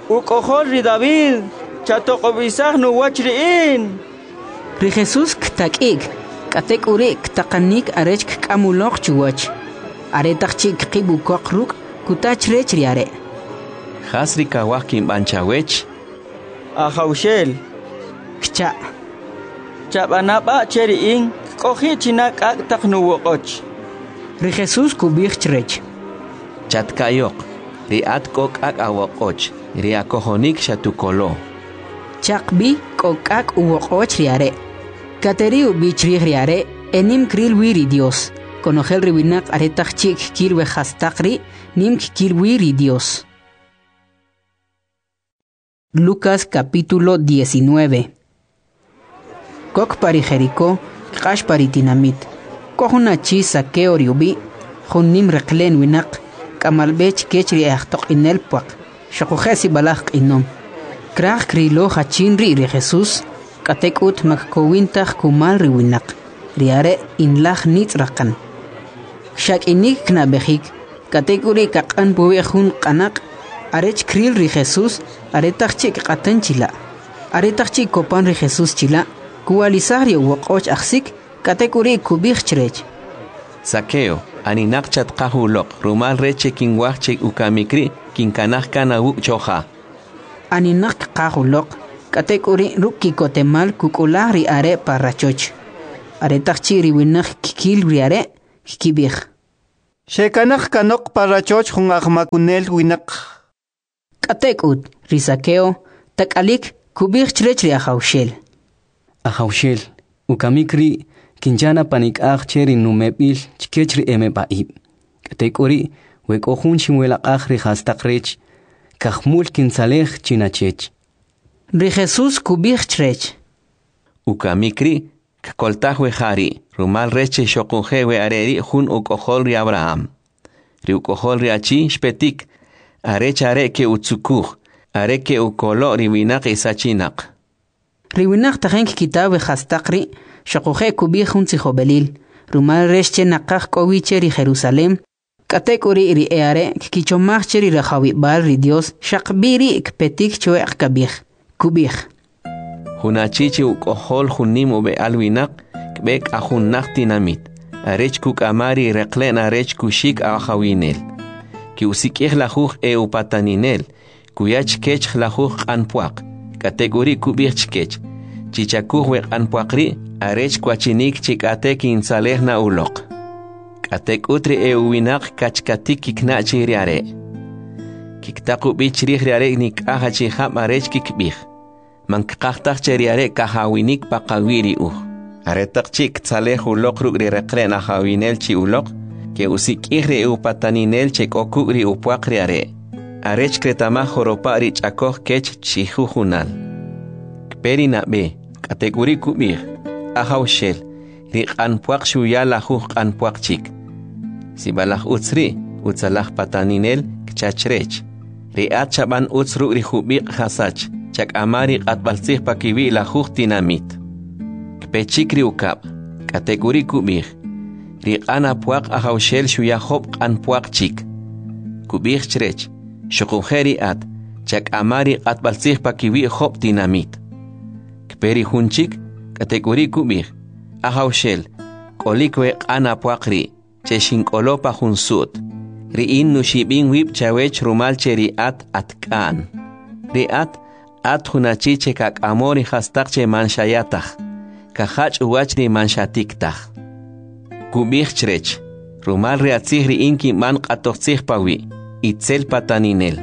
Uk'ojol ri David, chatoq'ob'isaj nuwach ri in. Ri Jesús ktak'i'k, k'atek'uri' ktaqanik arech kk'am uloq chuwach. Aretaq chi' kqib' ukoq ruk', kuta chrech ri are': Jas ri kawaj kinb'an chawech? Ajawxel, Kcha'. chab'ana b'a' che ri in kk'oji' china k'ak' taq nuwoq'och. Ri Jesús kub'ij chrech: Chatka'yoq, ri at k'o k'ak' awoq'och, ri akojonik xatukolo. Chaqb'i k'o k'ak' uwoq'och ri are'. Kateri ub'i chrij ri are' e nim kril wi ri Dios. Konojel ri winaq aretaq chi' kkil we jastaq ri', nim kkil wi ri Dios. Lucas capítulo diecinueve. Kok pa ri Jericó, kq'ax pa ri tinamit. K'o jun achi Zaqueo ri ub'i', jun nim reqle'n winaq, k'amal b'e chkech ri e'ajtoq'inel pwaq, xuquje' sib'alaj q'inom. Kraj krilo jachin ri' ri Jesús, k'atek'ut ma kkowin taj kumal ri winaq, ri are' inlaj nitz' raqan. Xak'inik knab'ejik, k'atek'uri' kaq'an puwi' jun q'anaq' arech kril ri Jesús aretaq chi' kq'atan chila'. Aretaq chi' kopan ri Jesús chila', kuwalisaj ri uwoq'och ajsik, k'atek'uri' kub'ij chrech: Zaqueo, aninaq chatqaj uloq, rumal rech che kinwaj che ukamik ri' kinkanaj kan awuk' choja. Aninaq kqaj uloq, k'atek'uri' ruk' ki'kotemal kuk'ulaj ri are' pa rachoch. Aretaq chi' ri winaq kkil ri are', kkib'ij: Xekanaj kanoq pa rachoch jun ajmakunel winaq. K'atek'ut, ri Saqueo, tak'alik, kub'ij chrech ri Ajawxel: Ajawxel, ukamik ri' kincha na panik'aj che ri numeb'il chkech ri emeb'a'ib'. K'atek'uri', we k'o jun xinwelaq'aj ri jastaq rech, kajmul kintzalej chi na chech. Ri Jesus kub'ij chrech: Ukamik ri' kkoltaj we ja ri', rumal rech che xoquje' we are' ri' jun uk'ojol ri Abraham. Ri uk'ojol ri achi xpetik, arech are ke'utzukuj, are ke'ukolo' ri winaq esachinaq. Ri winaq tajin kkita we jastaq ri', xoquje' kub'ij jun tzijob'elil, rumal rech che naqaj k'o wi che ri Jerusalem. K'atek'uri' ri e'are' kkichomaj che ri rajawib'al ri Dios xaq b'i ri' kpetik chwe'q kab'ij. Kub'ij: Jun achi che uk'ojol jun nim ub'e'al winaq kb'e k'a jun naj tinamit, arech kuk'ama ri reqle'n arech kuxik ajawinel. Ke'usik'ij lajuj e upataninel, kuya chkech lajuj q'an pwaq, k'atek'uri' kub'ij chkech: Chichakuj we q'an pwaq ri' arech kwachinik chi k'ate kintzalej na uloq. K'atek'ut ri e'uwinaq kachkatik kikna' chi ri are'. Kiktaq ub'i chrij ri are' nik'aj achijab' arech kikb'ij: Man kqaj taj che ri are' kajawinik pa qawi' ri uj. Aretaq chi' ktzalej uloq ruk' ri reqle'n ajawinel chi uloq, ke'usik'ij ri e'upataninel che k'o kuk' ri upwaq ri are', arech kreta'maj joropa' ri ch'akoj kech chijujunal. Kpe ri nab'e, k'atek'uri' kub'ij: Ajawxel, ri q'an pwaq xuya lajuj q'an pwaq chik. Sib'alaj utz ri', utzalaj pataninel, kcha chrech. Ri at xab'an utz ruk' ri jub'iq' jasach, chak'ama ri q'atb'altzij pakiwi' lajuj tinamit. Kpe chik ri ukab', k'atek'uri' kub'ij: Ri q'an apwaq ajawxel xuya job' q'an pwaq chik. Kub'ij chrech: Xuquje' ri at, chak'ama ri q'atb'altzij pakiwi' job' tinamit. Kpe ri jun chik, k'atek'uri' kub'ij: Ajawxel, k'olik we q'an apwaq ri', che xink'olo pa jun su't. Ri in nuxib'im wib' chawech rumal che ri at at k'a'n. Ri at, at jun achi che kak'amo ri jastaq che man xaya taj, kajach' uwach ri man xatik taj. Kub'ij chrech: Rumal ri atzij ri in kinb'an q'atojtzij pawi', itzel pataninel.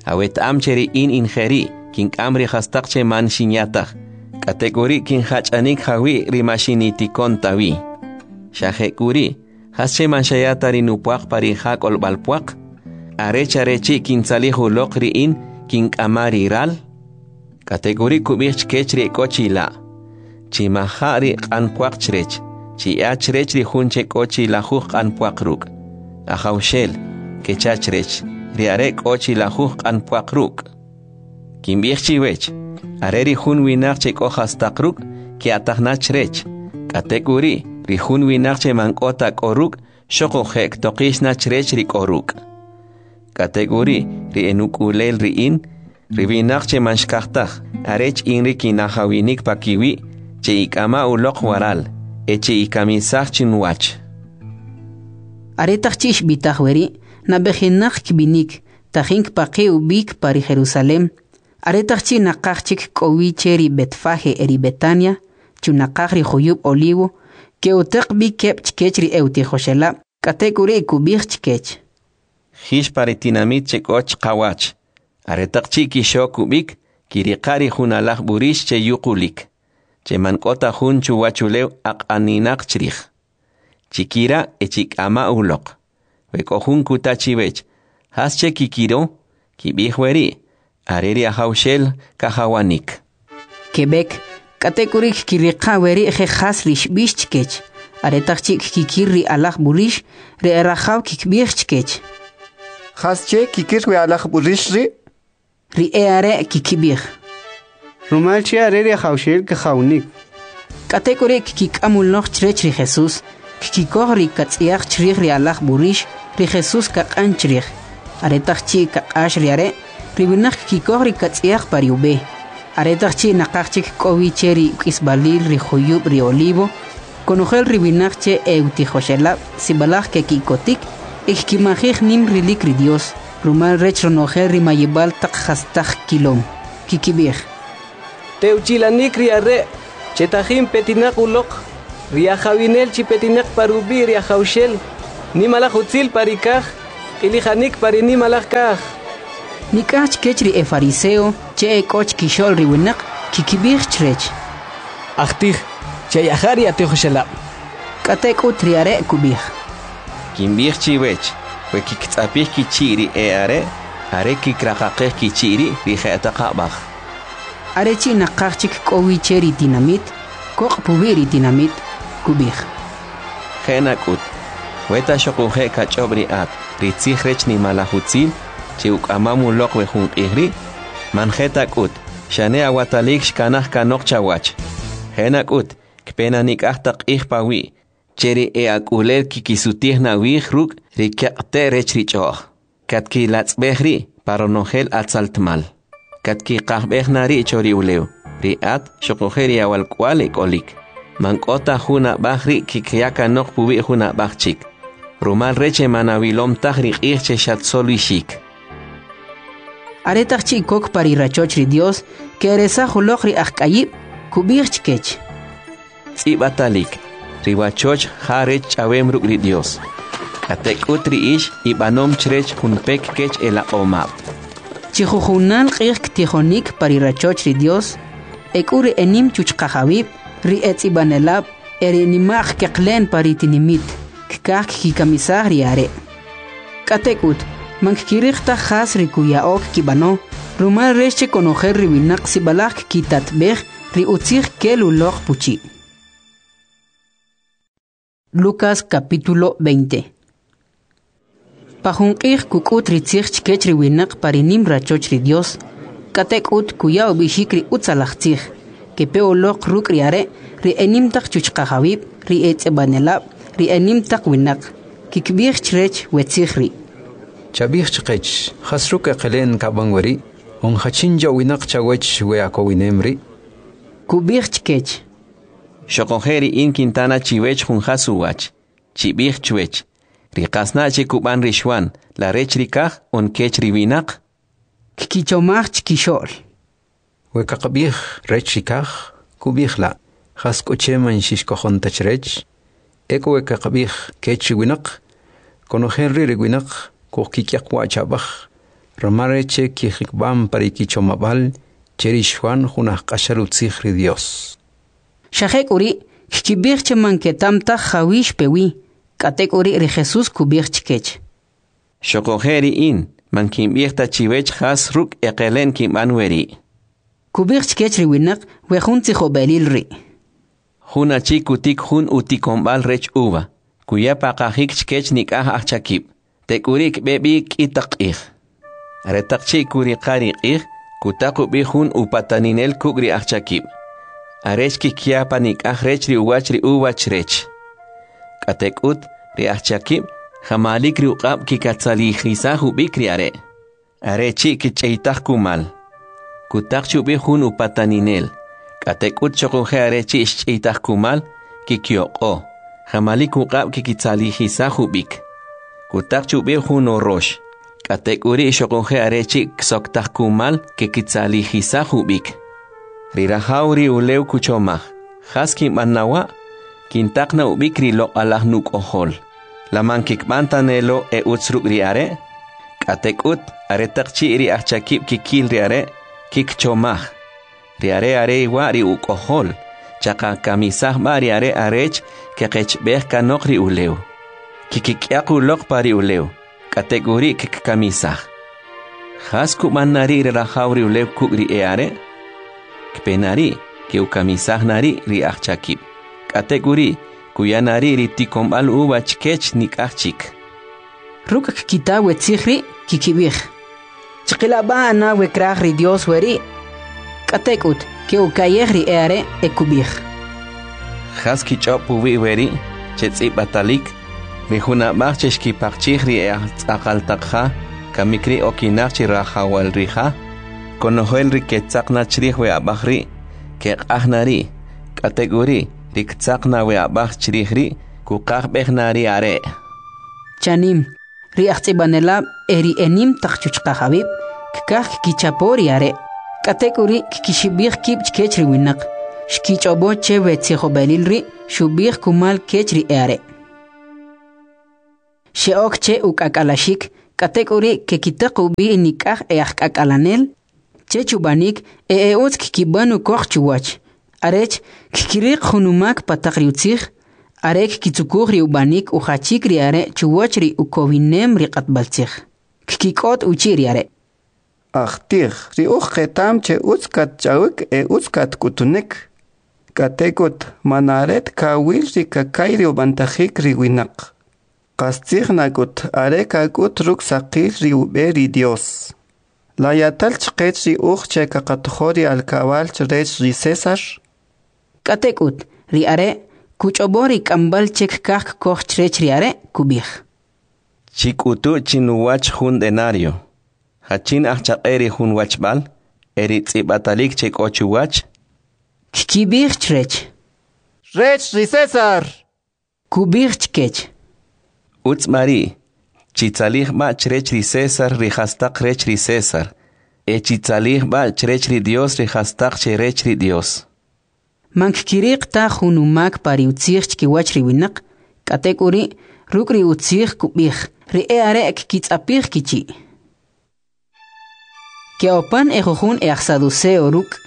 Aweta'am che ri in in jeri', kink'am ri jastaq che man xinya taj, k'atek'uri' kinjach'anik jawi' ri ma xinitikon ta wi. Xa jek'uri', jasche man xaya ta ri nupwaq pa ri ja k'olb'al pwaq? Arech are chi' kintzalij uloq ri in kink'ama ri ral? K'atek'uri' kub'ij chkech ri ek'o chila': Chimaja' ri q'an pwaq chrech, chiya chrech ri jun che k'o chi lajuj q'an pwaq ruk'. Ajawxel, kecha chrech, ri are' k'o chi lajuj q'an pwaq ruk'. Kinb'ij chiwech, are ri jun winaq che k'o jastaq ruk', ke'ataj na chrech. K'atek'uri', ri jun winaq che man k'o ta k'o ruk', xoquje' ktoqix na chrech ri k'o ruk'. K'atek'uri', ri enuk'ulel ri in, ri winaq che man xkaj taj, arech in ri kinajawinik pakiwi', che'ik'ama uloq waral, e che'ikamisaj chinuwach. Aretaq chi' xb'itaj weri', nab'ejinaq kb'inik, tajin kpaqi' ub'ik pa ri Jerusalem. Aretaq chi' naqaj chik k'o wi che ri Betfage e ri Betania, chunaqaj ri juyub' Olivo, ke'utaq b'i keb' chkech ri e'utijoxelab', k'atek'uri' kub'ij chkech: Jix pa ri tinamit che k'o chqawach. Aretaq chi' kixok ub'ik, kiriqa' ri jun alaj b'urix che yuqulik, che man k'o ta jun chuwachulew aq'aninaq chrij. Chikira' e chik'ama uloq. We k'o jun kuta chiwech, jasche kikiro? Kib'ij weri', are ri Ajawxel kajawanik. Keb'ek, k'atek'uri' kkiriqa' weri' je jas ri xb'ix chkech. Aretaq chi' kkikir ri alaj b'urix, ri erajaw kikb'ij chkech: Jasche kikir we alaj b'urix ri'? Ri e'are' kikib'ij: Rumal che are ri Ajawxel kajawnik. K'atek'uri' kkik'am uloq chrech ri Jesus, kkikoj ri katz'yaq chrij ri alaj b'urix, ri Jesus kaq'an chrij. Aretaq chi' kaq'ax ri are', ri winaq kkikoj ri katz'yaq pa ri ub'e. Aretaq chi' naqaj chik k'o wi che ri uk'isb'alil ri juyub' ri Olivo, konojel ri winaq che e'utijoxelab' sib'alaj keki'kotik e kkimajij nim rilik ri Dios, rumal rech ronojel ri mayib'al taq jastaq kilom. Kikib'ij: Tewchilanik ri are' che tajin petinaq uloq, ri ajawinel chi petinaq pa rub'i' ri Ajawxel. Nimalaj utzil pa ri kaj, q'ilijanik pa ri nimalaj kaj. Nik'aj chkech ri efariseo che ek'o chkixo'l ri winaq kikib'ij chrech: Ajtij, che'yaja' ri atijoxelab'. K'atek'ut ri are' kub'ij: Kinb'ij chiwech, we kkitz'apij kichi' ri e'are', are kikraqaqej kichi' ri' ri jetaq ab'aj. Are chi' naqaj chik k'o wi che ri tinamit, koq' puwi' ri tinamit, kub'ij: Je' nak'ut, weta xoquje' kach'ob' ri at ri tzij rech nimalaj utzil che uk'amam uloq we jun q'ij ri', man je ta k'ut, xane awatalik xkanaj kanoq chawach. Je' nak'ut, kpe na nik'aj taq q'ij pawi', che ri e'ak'ulel kkisutij na awij ruk' ri keq'te' rech ri ch'o'j, katkilatz'b'ej ri' pa ronojel atzaltmal, katkiqajb'ej na ri' cho ri ulew, ri at xoquje' ri awalk'uwa'l ek'olik. Man k'o ta jun ab'aj ri' kkiya kanoq puwi' jun ab'aj chik, rumal rech che man awilom taj ri q'ij che xatsolixik. Aretaq chi' kok pa ri rachoch ri Dios, ke'eresaj uloq ri ajk'ayib', kub'ij chkech: Tz'ib'atalik, ri wachoch ja rech ch'awem ruk' ri Dios. K'atek'ut ri ix ib'anom chrech jun pek kech elaq'omab'. Chi jujunal q'ij ktijonik pa ri rachoch ri Dios, ek'u ri enim chuchqajawib', ri etz'ib'anelab' e ri nima'q keqle'n pa ri tinimit, kkaj kkikamisaj ri are'. K'atek'ut, man kkiriq taj jas ri kuya'o kkib'ano, rumal rech che konojel ri winaq sib'alaj kkitatb'ej ri utzij kel uloq puchi'. Lucas capítulo veinte. Pa jun q'ij kuk'ut ri tzij chkech ri winaq pa ri nim rachoch ri Dios, k'atek'ut kuya ub'ixik ri utzalaj tzij. Kepe uloq ruk' ri are' ri enim taq chuchqajawib', ri etz'ib'anelab', ri enim taq winaq, kikb'ij chrech we tzij ri': Chab'ij chqech, jas ruk' eqele'n kab'an weri', on jachin ya'winaq chawech we akowinem ri'? Kub'ij chkech: Xoquje' ri in kintana chiwech jun jas uwach. Chib'ij chwech, ri qasna' che kub'an ri Xwan, la rech ri kaj on kech ri winaq? Kkichomaj chkixo'l: We kaqab'ij rech ri kaj, kub'ij la', jas k'u che man xixkojon ta chrech? Ek'u we kaqab'ij kech ri winaq, konojel ri' ri winaq kujkik'yaq wa' cha'b'aj, rumal rech che kijikb'am pa ri kichomab'al che ri Xwan jun ajq'axal utzij ri Dios. Xa jek'uri' kkib'ij che man keta'm taj jawi' xpe wi. K'atek'uri' ri Jesús kub'ij chkech: Xoquje' ri in, man kinb'ij ta chiwech jas ruk' eqele'n kinb'an weri'. Kub'ij chkech ri winaq we jun tzijob'elil ri': Jun achi kutik jun utikonb'al rech uva, kuya paqajik chkech nik'aj ajchakib', tek'uri' kb'e b'i k'i taq q'ij. Aretaq chi' kuriqa ri q'ij, kutaq ub'i jun upataninel kuk' ri ajchakib', arech kikya panik'aj rech ri uwach ri uva chrech. K'atek'ut, ri ajchakib' jamalik ri uq'ab' kikatzalijisaj ub'ik ri are', are chi' kich'eytaj kumal. Kutaq chi ub'i jun upataninel, k'atek'ut xoquje' are chi' xch'eytaj kumal, kikyoq'o, jamalik uq'ab' kikitzalijisaj ub'ik. Kutaq chi ub'i jun orox, k'atek'uri' xoquje' are chi' ksoktaj kumal kikitzalijisaj ub'ik. Ri rajaw ri ulew kuchomaj, jas kinb'an na wa'? Kintaq na ub'ik ri loq'alaj nuk'ojol. La man kikb'an ta ne lo e utz ruk' ri are'? K'atek'ut, aretaq chi' ri ajchakib' kikil ri are', kikchomaj, ri are' are wa' ri uk'ojol, chaqakamisaj b'a ri are' arech keqechb'ej kanoq ri ulew. Kikik'yaq uloq pa ri ulew, k'atek'uri' kkikamisaj. Jas kub'an na ri' ri rajaw ri ulew kuk' ri e'are'? Kpe na ri', ke'ukamisaj na ri' ri ajchakib'. K'atek'uri', kuya na ri' ri tikonb'al uva chkech nik'aj chik. Ruk' kkita we tzij ri' kikib'ij: Chqila b'a' na we kraj ri Dios weri'. K'atek'ut, ke'uka'yej ri e'are' e kub'ij: Jas kich'ob' puwi' weri' che tz'ib'atalik, ri jun ab'aj che xkipaqchij ri e'ajtz'aqal taq ja, kamik ri' okinaq chi rajawal ri ja? Konojel ri ketzaq na chrij we ab'aj ri', keq'aj na ri', k'atek'uri' ri ktzaq na we ab'aj chrij ri', kuqajb'ej na ri are'. Chanim, ri ajtz'ib'anelab' e ri enim taq chuchqajawib' kkaj kkichapo ri are', k'atek'uri' kkixib'ij kib' chkech ri winaq. Xkich'ob'o che we tzijob'elil ri' xub'ij kumal kech ri e'are'. Xe'ok che uk'ak'alaxik, k'atek'uri' kekitaq ub'i nik'aj e'ajk'ak'alanel chech ub'anik e e utz kkib'an ukoq chuwach, arech kkiriq jun umak pa taq ri utzij, are kkitzukuj ri ub'anik ujachik ri are' chuwach ri ukowinem ri q'atb'altzij. Kkik'ot uchi' ri are': Ajtij, ri uj qeta'm che utz katch'awik e utz katk'utunik. K'atek'ut, man are ta kawil ri kaka'y ri ub'antajik ri winaq. Qastzij nak'ut are kak'ut ruk' saqil ri ub'e ri Dyos. La ya'tal chqech ri uj che kaqatojo ri alkab'al chrech ri Cesar? K'atek'ut, ri are' kuch'ob'o ri k'amb'al che kkaj kkoj chrech ri are', kub'ij: Chik'utu' chinuwach jun denario. Jachin ajchaq'e ri jun wachb'al e ri tz'ib'atalik che k'o chuwach? Kkib'ij chrech: Rech ri Cesar. Kub'ij chkech: Utz b'a ri', chitzalij b'a' chrech ri Cesar ri jastaq rech ri Cesar, e chitzalij b'a' chrech ri Dyos ri jastaq che rech ri Dyos. Man kkiriq ta jun umak pa ri utzij chkiwach ri winaq, k'atek'uri', ruk' ri utzij kub'ij, ri e'are' kkitz'apij kichi'. Ke'opan ejujun e'ajsaduceo ruk',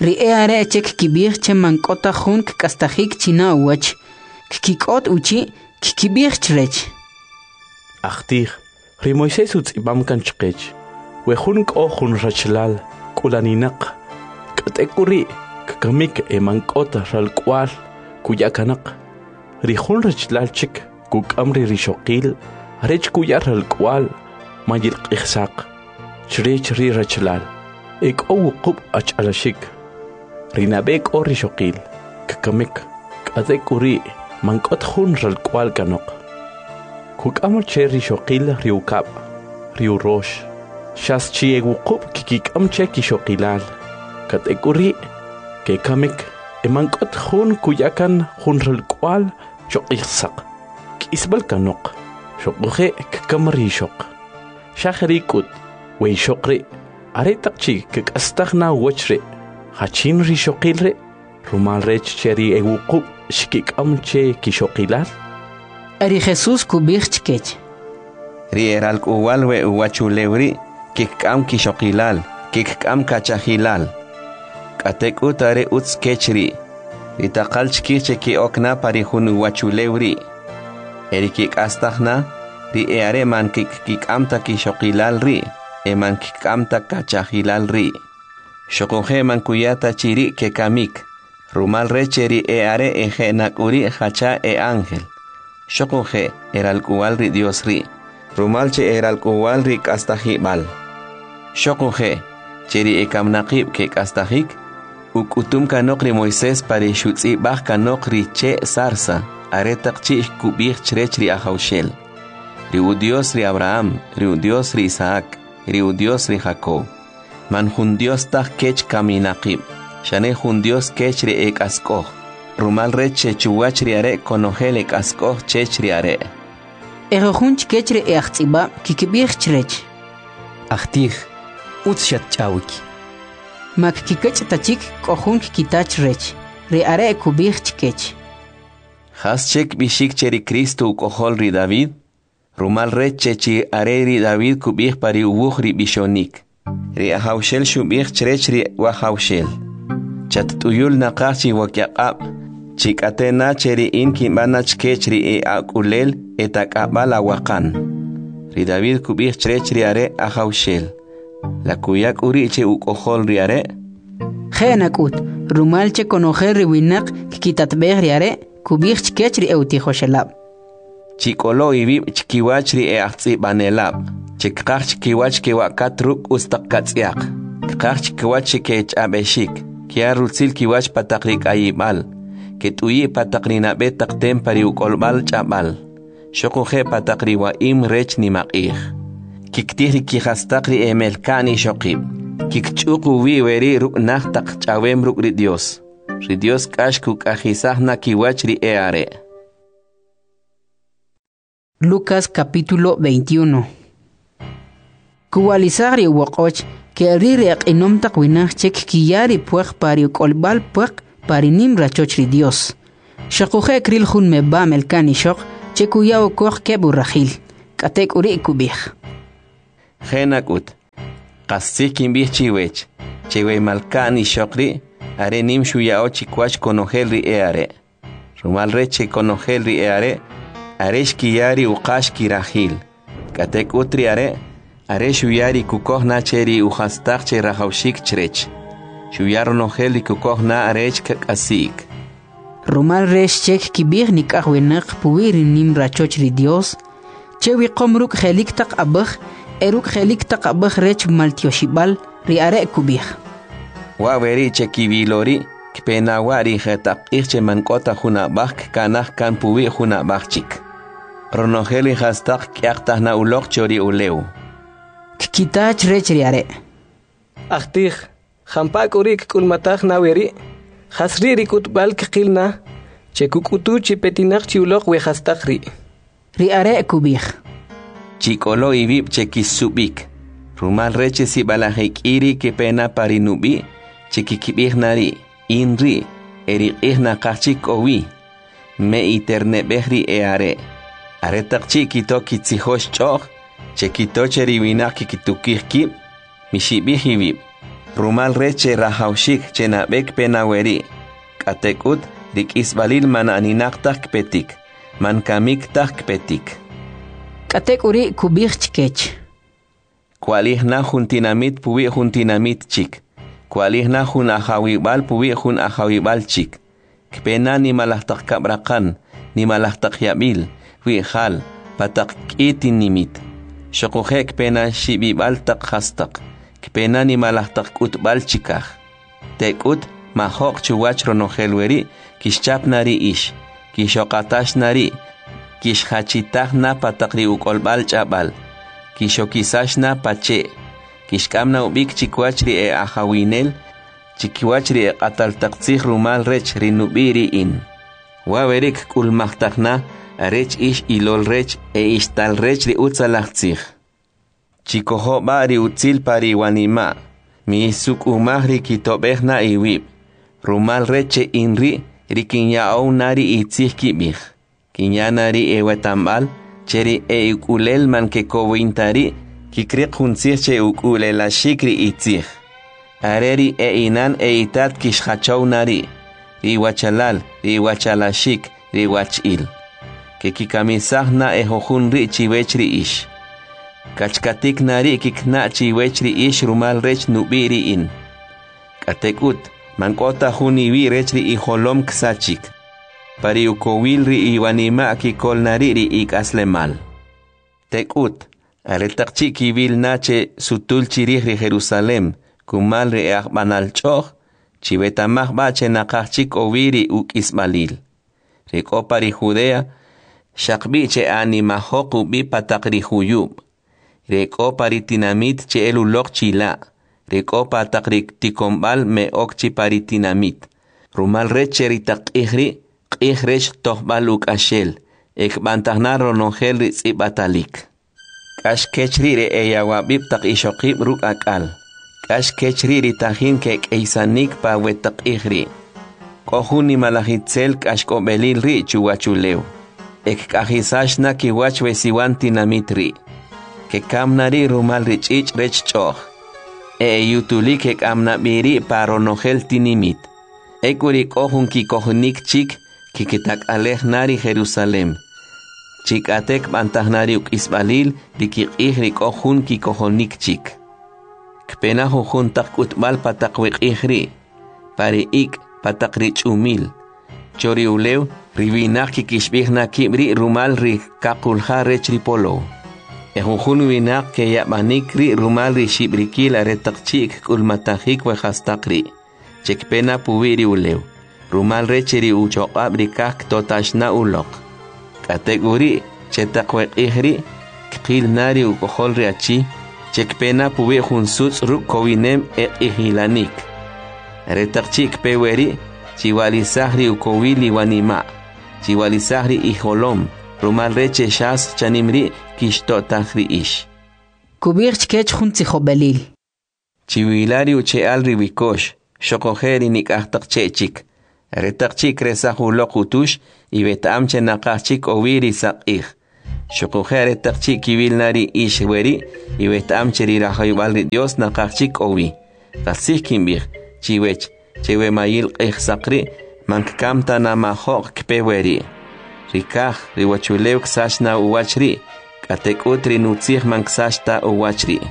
ri e'are' che kkib'ij che man k'o ta jun kk'astajik chi na uwach. Kkik'ot uchi', kkib'ij chrech: Ajtij, ri Moisés utz'ib'am kan chqech, we jun k'o jun rachalal k'ulaninaq, k'atek'uri' kkamik e man k'o ta ralk'wa'l kuya kanoq. Ri jun rachalal chik kuk'am ri rixoqil arech kuya ralk'wa'l mayilq'ijsaq chrech ri rachalal. E k'o wuqub' achalaxik. Ri nab'e k'o rixoqil, kkamik, k'atek'uri' man k'o ta jun ralk'wa'l kanoq. Kuk'am che rixoqil ri ukab', ri urox, xas chi e wuqub' kikik'am che kixoqilal, k'atek'uri' kekamik e man k'o ta jun kuya kan jun ralk'wa'l choq'ijsaq. K'isb'al kanoq, xoquje' kkam ri ixoq. Xa jeri' k'ut, we ixoq ri' aretaq chi' kk'astaj na uwach ri', jachin rixoqil ri'? Rumal rech che ri e wuqub' xkik'am che kixoqilal. Ri Jesus kub'ij chkech: Ri e ralk'uwal we uwachulew ri' kikk'am kixoqilal, kikk'am kachajilal. K'atek'ut are utz kech ri', ri taqal chkij che ke'ok na pa ri jun uwachulew ri'. E ri kek'astaj na, ri e'are' man kkik'am ta kixoqilal ri' e man kkik'am ta kachajilal ri'. Xoquje' man kuya ta chi ri' kekamik, rumal rech che ri e'are' eje' nak'uri' jacha e'ángel. Xoquje' eralk'uwal ri Dyos ri', rumal che eralk'uwal ri k'astajib'al. Xoquje' che ri ekamnaqib' kek'astajik, uk'utum kanoq ri Moisés pa ri xutz'ib'aj kanoq ri che' zarza, aretaq chi' kub'ij chrech ri Ajawxel, ri Udyos ri Abraham, ri Udyos ri Isaac, ri Udyos ri Jacob. Man jun Dyos taj kech kaminaqib', xane jun Dyos kech ri ek'ask'oj, rumal rech che chuwach ri are' konojel ek'ask'oj chech ri are'. Ejujun chkech ri e'ajtz'ib'ab' kkib'ij chrech: Ajtij, utz xatch'awik. Ma kkikach' ta chik k'o jun kkita chrech. Ri are' kub'ij chkech: Jas che kb'ixik che ri Cristo uk'ojol ri David? Rumal rech che chi are ri David kub'ij pa ri uwuj ri b'ixonik. Ri Ajawxel xub'ij chrech ri Wajawxel: Chatt'uyul naqaj chi wakyaq'ab', chi k'ate na che ri in kinb'an na chkech ri e'ak'ulel etak'ab'al awaqan. Ri David kub'ij chrech ri are' Ajawxel. La kuya k'u ri' che uk'ojol ri are'? Je' nak'ut, rumal che konojel ri winaq kkitatb'ej ri are', kub'ij chkech ri e'utijoxelab': Chik'olo iwib' chkiwach ri e'ajtz'ib'anelab', che kqaj chkiwach kewa'kat ruk' utz taq katz'yaq, kqaj chkiwach che kech'ab'exik, kya rutzil kiwach pa taq ri k'ayib'al, ket'uyi' pa taq ri nab'e taq tem pa ri uk'olb'al ch'ab'al, xoquje' pa taq ri wa'im rech nimaq'ij. Kiktij ri kijastaq ri emelka'n ixoqib', kikch'uq uwi' weri' ruk' naj taq ch'awem ruk' ri Dyos. Ri Dyos k'ax kuk'ajisaj na kiwach ri e'are'. Lucas capítulo veintiuno. Kuwalisaj ri uwoq'och ke'ri ri eq'inom taq winaq che kkiya ri puaq pa ri uk'olb'al puaq pa ri nim rachoch ri Dios. Xoquje' kril jun meb'a' melka'n ixoq che kuya ukoq keb' urajil. K'atek'uri' kub'ij: Je' nak'ut, qastzij kinb'ij chiwech, che we malka'n ixoq ri' are nim xuya'o chkiwach konojel ri e'are'. Rumal rech che konojel ri e'are' are xkiya ri uqax kirajil, k'atek'ut ri are', are xuya ri kukoj na che ri ujastaq che rajawaxik chrech, xuya ronojel ri kukoj na arech kak'asi'k. Rumal rech che kkib'ij nik'aj winaq puwi' ri nim rachoch ri Dyos, che wiqom ruk' je'lik taq ab'aj e ruk' je'lik taq ab'aj rech maltyoxib'al, ri are' kub'ij: Wa' weri' che kiwilo ri', kpe na wa' ri jetaq q'ij che man k'o ta jun ab'aj kkanaj kan puwi' jun ab'aj chik. Ronojel ri jastaq kk'yaqtaj na uloq cho ri ulew. Kkita chrech ri are': Ajtij, jampa' k'u ri' kk'ulmataj na weri'? Jas ri' ri k'utb'al kqil na, che kuk'utu chi petinaq chi uloq we jastaq ri'? Ri are' kub'ij: Chik'olo iwib' che kisub'ik, rumal rech che sib'alaj ek'i ri kepe na pa ri nub'i', che kkib'ij na ri': In ri', e ri q'ij naqaj chik k'o wi. Me'iterne'b'ej ri e'are'. Aretaq chi' kito kitzijox ch'o'j, che kito che ri winaq kkitukij kib', mixib'ij iwib', rumal rech che rajawaxik che nab'e kpe na weri', k'atek'ut ri k'isb'alil man aninaq taj kpetik, man kamik taj kpetik. K'atek'uri' kub'ij chkech: Kwa'lij na jun tinamit puwi' jun tinamit chik, kwa'lij na jun ajawib'al puwi' jun ajawib'al chik. Kpe na nimalaj taq kab'raqan, nimalaj taq yab'il, wi'jal, pa taq k'i tinimit. Xoquje' kpe na xib'ib'al taq jastaq, kpe na nimalaj taq k'utb'al chikaj. Tek'ut, majo'q chuwach ronojel weri' kixchap na ri ix, kixoqatax na ri', kixjachitaj na pa taq ri uk'olb'al ch'ab'al, kixokisax na pa che', kixk'am na ub'ik chikiwach ri e'ajawinel, chikiwach ri eq'atal taq tzij rumal rech ri nub'i' ri in. Wa' weri' kk'ulmajtaj na arech ix ilol rech e ix tal rech ri utzalaj tzij. Chikojo' b'a' ri utzil pa ri iwanima', misuk'umaj ri kitob'ej na iwib', rumal rech che in ri' ri kinya'ow na ri itzij kib'ij. Kinya na ri iweta'mb'al, che ri e'ik'ulel man kekowin ta ri' kikriq jun tzij che uk'u'lelaxik ri itzij. Are ri e'inan e'itat kixjachow na ri', ri iwachalal, ri iwachalaxik, ri iwach'il. Kekikamisaj na ejujun ri' chiwech ri ix. Kachkatik na ri' kikna' chiwech ri ix rumal rech nub'i' ri in. K'atek'ut, man k'o ta jun iwi' rech ri ijolom ksachik. Pa ri ukowil ri iwanima' kikol na ri' ri ik'aslemal. Tek'ut, aretaq chi' kiwil na che sutul chirij ri Jerusalem kumal ri e'ajb'anal ch'o'j, chiweta'maj b'a' che naqaj chik k'o wi ri uk'isb'alil. Ri k'o pa ri Judea, xaqb'i' che'animajoq ub'i pa taq ri juyub', ri k'o pa ri tinamit che'el uloq chila', ri k'o pa taq ri tikonb'al me'ok chi pa ri tinamit, rumal rech che ri taq q'ij ri' q'ij rech tojb'al uk'axel, e kb'antaj na ronojel ri tz'ib'atalik. K'ax kech ri' ri eyawab'ib' taq ixoqib' ruk' ak'al, k'ax kech ri' ri tajin kek'eysanik pa we taq q'ij ri'. K'o jun nimalaj itzel k'axk'ob'elil ri' chuwachulew, e kk'ajisax na kiwach we siwan tinamit ri'. Kekam na ri' rumal ri ch'ich' rech ch'o'j, e eyutulik kek'am na b'i ri' pa ronojel tinimit. Ek'u ri k'o jun kikojonik chik kkitak'alej na ri Jerusalem, chi k'ate kb'antaj na ri uk'isb'alil ri kiq'ij ri k'o jun kikojonik chik. Kpe na jujun taq k'utb'al pa taq we q'ij ri', pa ri ik', pa taq ri ch'umil. Cho ri ulew, ri winaq kikixb'ij na kib' ri' rumal ri kaqulja rech ri polow. E jujun winaq keyab'anik ri' rumal ri xib'rikil aretaq chi' kk'ulmatajik we jastaq ri', che kpe na puwi' ri ulew, rumal rech che ri uchoq'ab' ri kaj ktotax na uloq. K'atek'uri' che taq we q'ij ri', kqil na ri uk'ojol ri achi, che kpe na puwi' jun sutz' ruk' kowinem e q'ijilanik. Aretaq chi' kpe weri', chiwa'lisaj ri ukowil iwanima', chiwa'lisaj ri ijolom, rumal rech che xas chanim ri' kixto'taj ri ix. Kub'ij chkech jun tzijob'elil: Chiwila ri uche'al ri wikox, xoquje' ri nik'aj taq che' chik. Aretaq chi' kresaj uloq utux, iweta'am che naqaj chik k'o wi ri saq'ij. Xuquje' aretaq chi' kiwil na ri ix weri', iweta'am che ri rajawib'al ri Dios naqaj chik k'o wi. Qastzij kinb'ij chiwech che we mayil q'ijsaq ri' man kkam ta na majo'q kpe weri'. Ri kaj, ri uwachulew ksach na uwach ri', k'atek'ut ri nutzij man ksach ta uwach ri'.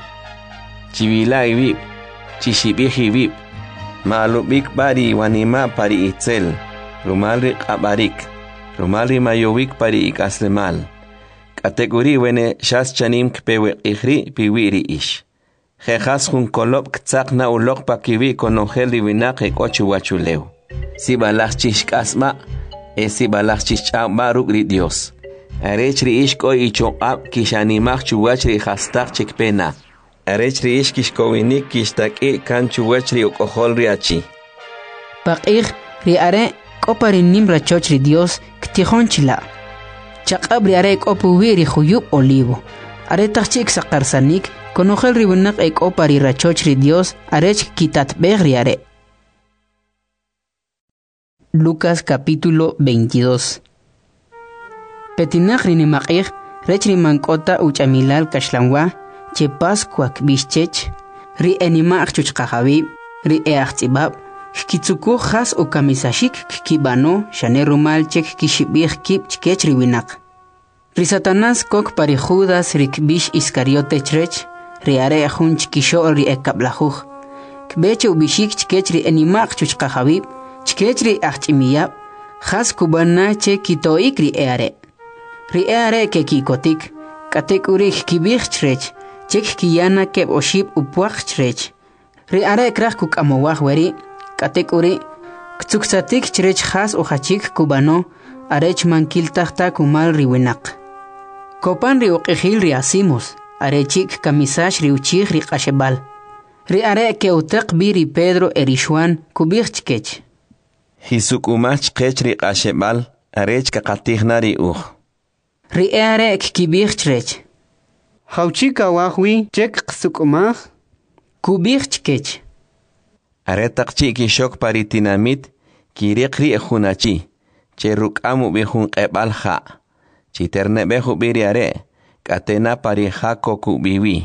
Chiwila' iwib', chixib'ij iwib', ma'alub'ik b'a ri iwanima' pa ri itzel, rumal ri q'ab'arik, rumal ri mayowik pa ri ik'aslemal. K'atek'uri' wene xas chanim kpe we q'ij ri' piwi' ri ix. Je' jas jun kolob' ktzaq na uloq pakiwi' konojel ri winaq ek'o chuwachulew. Sib'alaj chixk'asb'a' e sib'alaj chixch'aw b'a ruk' ri Dios. Arech ri ix k'o ichoq'ab' kixanimaj chuwach ri jastaq che kpe na. Arech ri ix kixkowinik kixtak'i' kan chuwach ri uk'ojol ri achi. Paq'ij, ri are' k'o pa ri nim rachoch ri Dios ktijon chila'. Chaq'ab' ri are' k'o puwi' ri juyub' Olivo. Aretaq chi' ksaqarsanik, konojel ri winaq e k'o pa ri rachoch ri Dios arech kkitatb'ej ri are'. Lucas capítulo veintidós. Petinaq ri nimaq'ij rech ri man k'o ta uch'amilal kaxlanwa, che Pascua kb'ix chech, ri enima'q chuchqajawib', ri e ajtz'ib'ab', kkitzukuj jas ukamisaxik kkib'ano xane rumal che kkixib'ij kib' chkech ri winaq. Ri Satanás kok pa ri Judas ri kb'ix Iscariote chrech, ri are' jun chkixo'l ri ekab'lajuj. Kb'e che ub'ixik chkech ri enima'q chuchqajawib', chkech ri ajch'imiyab', jas kub'an na che kito'ik ri e'are'. Ri e'are' keki'kotik, k'atek'uri' kkib'ij chrech, che kkiya na keb' oxib' upwaq chrech. Ri are' kraj kuk'amowaj weri', k'atek'uri' ktzuksatik chrech jas ujachik kub'ano, arech man kiltaj ta kumal ri winaq. Kopan ri uq'ijil ri asimos, are chi' kkamisax ri uchij ri q'axeb'al. Ri are' ke'utaq b'i ri Pedro e ri Xuan kub'ij chkech: Jisuk'umaj chqech ri q'axeb'al arech kaqatij na ri uj. Ri e'are' kkib'ij chrech: Jawchi' kawaj wi che kqasuk'umaj? Kub'ij chkech: Aretaq chi' kixok pa ri tinamit, kiriq ri' jun achi, che ruk'am ub'i jun q'eb'al ja'. Chiterne'b'ej ub'i ri are', k'ate na pa ri ja kok ub'i wi.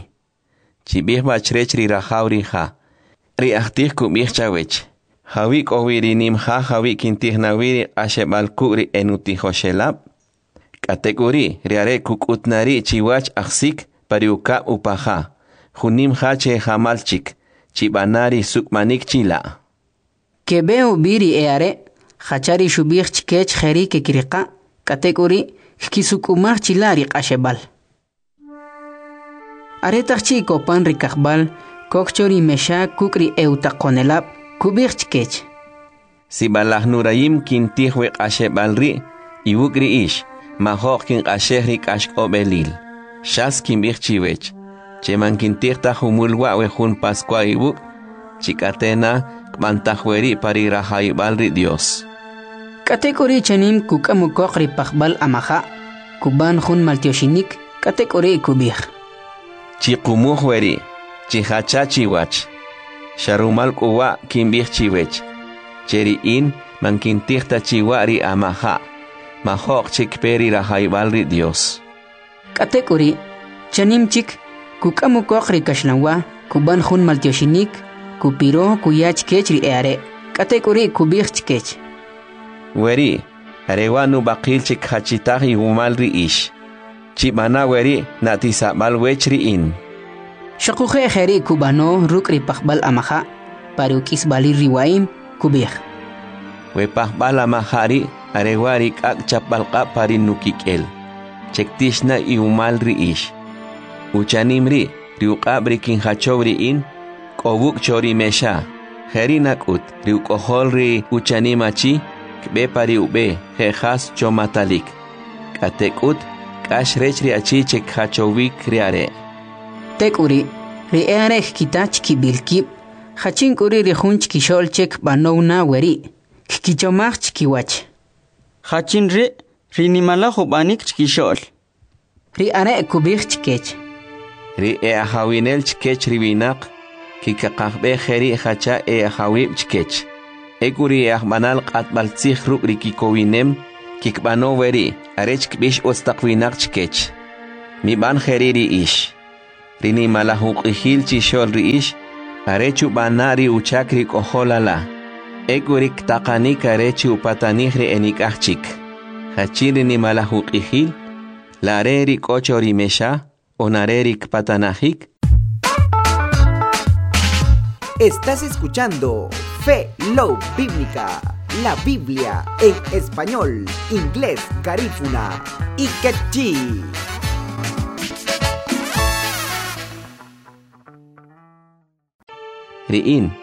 Chib'ij b'a chrech ri rajaw ri ja. Ri ajtij kub'ij chawech: Jawi' k'o wi ri nim ja jawi' kintij na wi ri q'axeb'al kuk' ri enutijoxelab'? K'atek'uri' ri are' kuk'ut na ri' chiwach ajsik pa ri ukab' upaja, jun nim ja che jamal chik, chib'ana ri suk'manik chila'. Keb'e ub'i ri e'are', jacha ri xub'ij chkech jeri' kekiriqa', k'atek'uri' kkisuk'umaj chila' ri q'axeb'al. Aretaq chi' kopan ri kajb'al, kok cho ri mexa kuk' ri e'utaqonelab', kub'ij chkech: Sib'alaj nurayim kintij we q'axeb'al ri' iwuk' ri ix, majo'q kinq'axej ri k'axk'ob'elil. Xas kinb'ij chiwech, che man kintij ta jumul wa' we jun Pascua iwuk', chik'ate na kb'antaj weri' pa ri rajawib'al ri Dios. K'atek'uri' chanim kuk'am ukoq ri pajb'al amaja', kub'an jun maltyoxinik, k'atek'uri' kub'ij: Chiqumuj weri', chijacha chiwach. Xa rumal k'u wa' kinb'ij chiwech, che ri in man kintij ta chiwa' ri amaja', majo'q chik kpe ri rajawib'al ri Dios. K'atek'uri', chanim chik, kuk'am ukoq ri kaxlanwa, kub'an jun maltyoxinik, kupiro kuya chkech ri e'are', k'atek'uri' kub'ij chkech: Weri', are wa' nub'aqil che kjachitaj iwumal ri ix. Chib'ana weri' na'tisab'al wech ri in. Xuquje' jeri' kub'ano ruk' ri pajb'al amaja', pa ri uk'isb'alil ri wa'im, kub'ij: We pajb'al amaja' ri' are wa' ri k'ak' chapb'al q'ab' pa ri nukik'el, che ktix na iwumal ri ix. Uchanim ri' ri uq'ab' ri kinjachow ri in, k'o wuk' cho ri mexa. Jeri' nak'ut, ri uk'ojol ri uchanim achi, kb'e pa ri ub'e je' jas chomatalik. K'atek'ut, k'ax rech ri achi che kjachowik ri are'. Tek'uri', ri e'are' kkita chkib'il kib', jachin k'u ri' ri jun chkixo'l che kb'anow na weri', kkichomaj chkiwach. Jachin ri' ri nimalaj ub'anik chkixo'l? Ri are' kub'ij chkech: Ri e'ajawinel chkech ri winaq, kikaqajb'ej jeri' jacha e'ajawib' chkech. Ek'u ri e'ajb'anal q'atb'al tzij ruk' ri kikowinem, kikb'ano weri' arech kb'ix utz taq winaq chkech. Mib'an jeri' ri ix. Ri nimalaj uq'ijil chixo'l ri ix, are chub'ana' ri uchak ri k'ojol ala, ek'u ri ktaqanik are chi upatanij ri enik'aj chik. Jachin ri nimalaj uq'ijil? La are ri k'o cho ri mexa on are ri kpatanajik? Estás escuchando Fe Love Bíblica, la Biblia en español, inglés, garífuna y quechí. Ri in,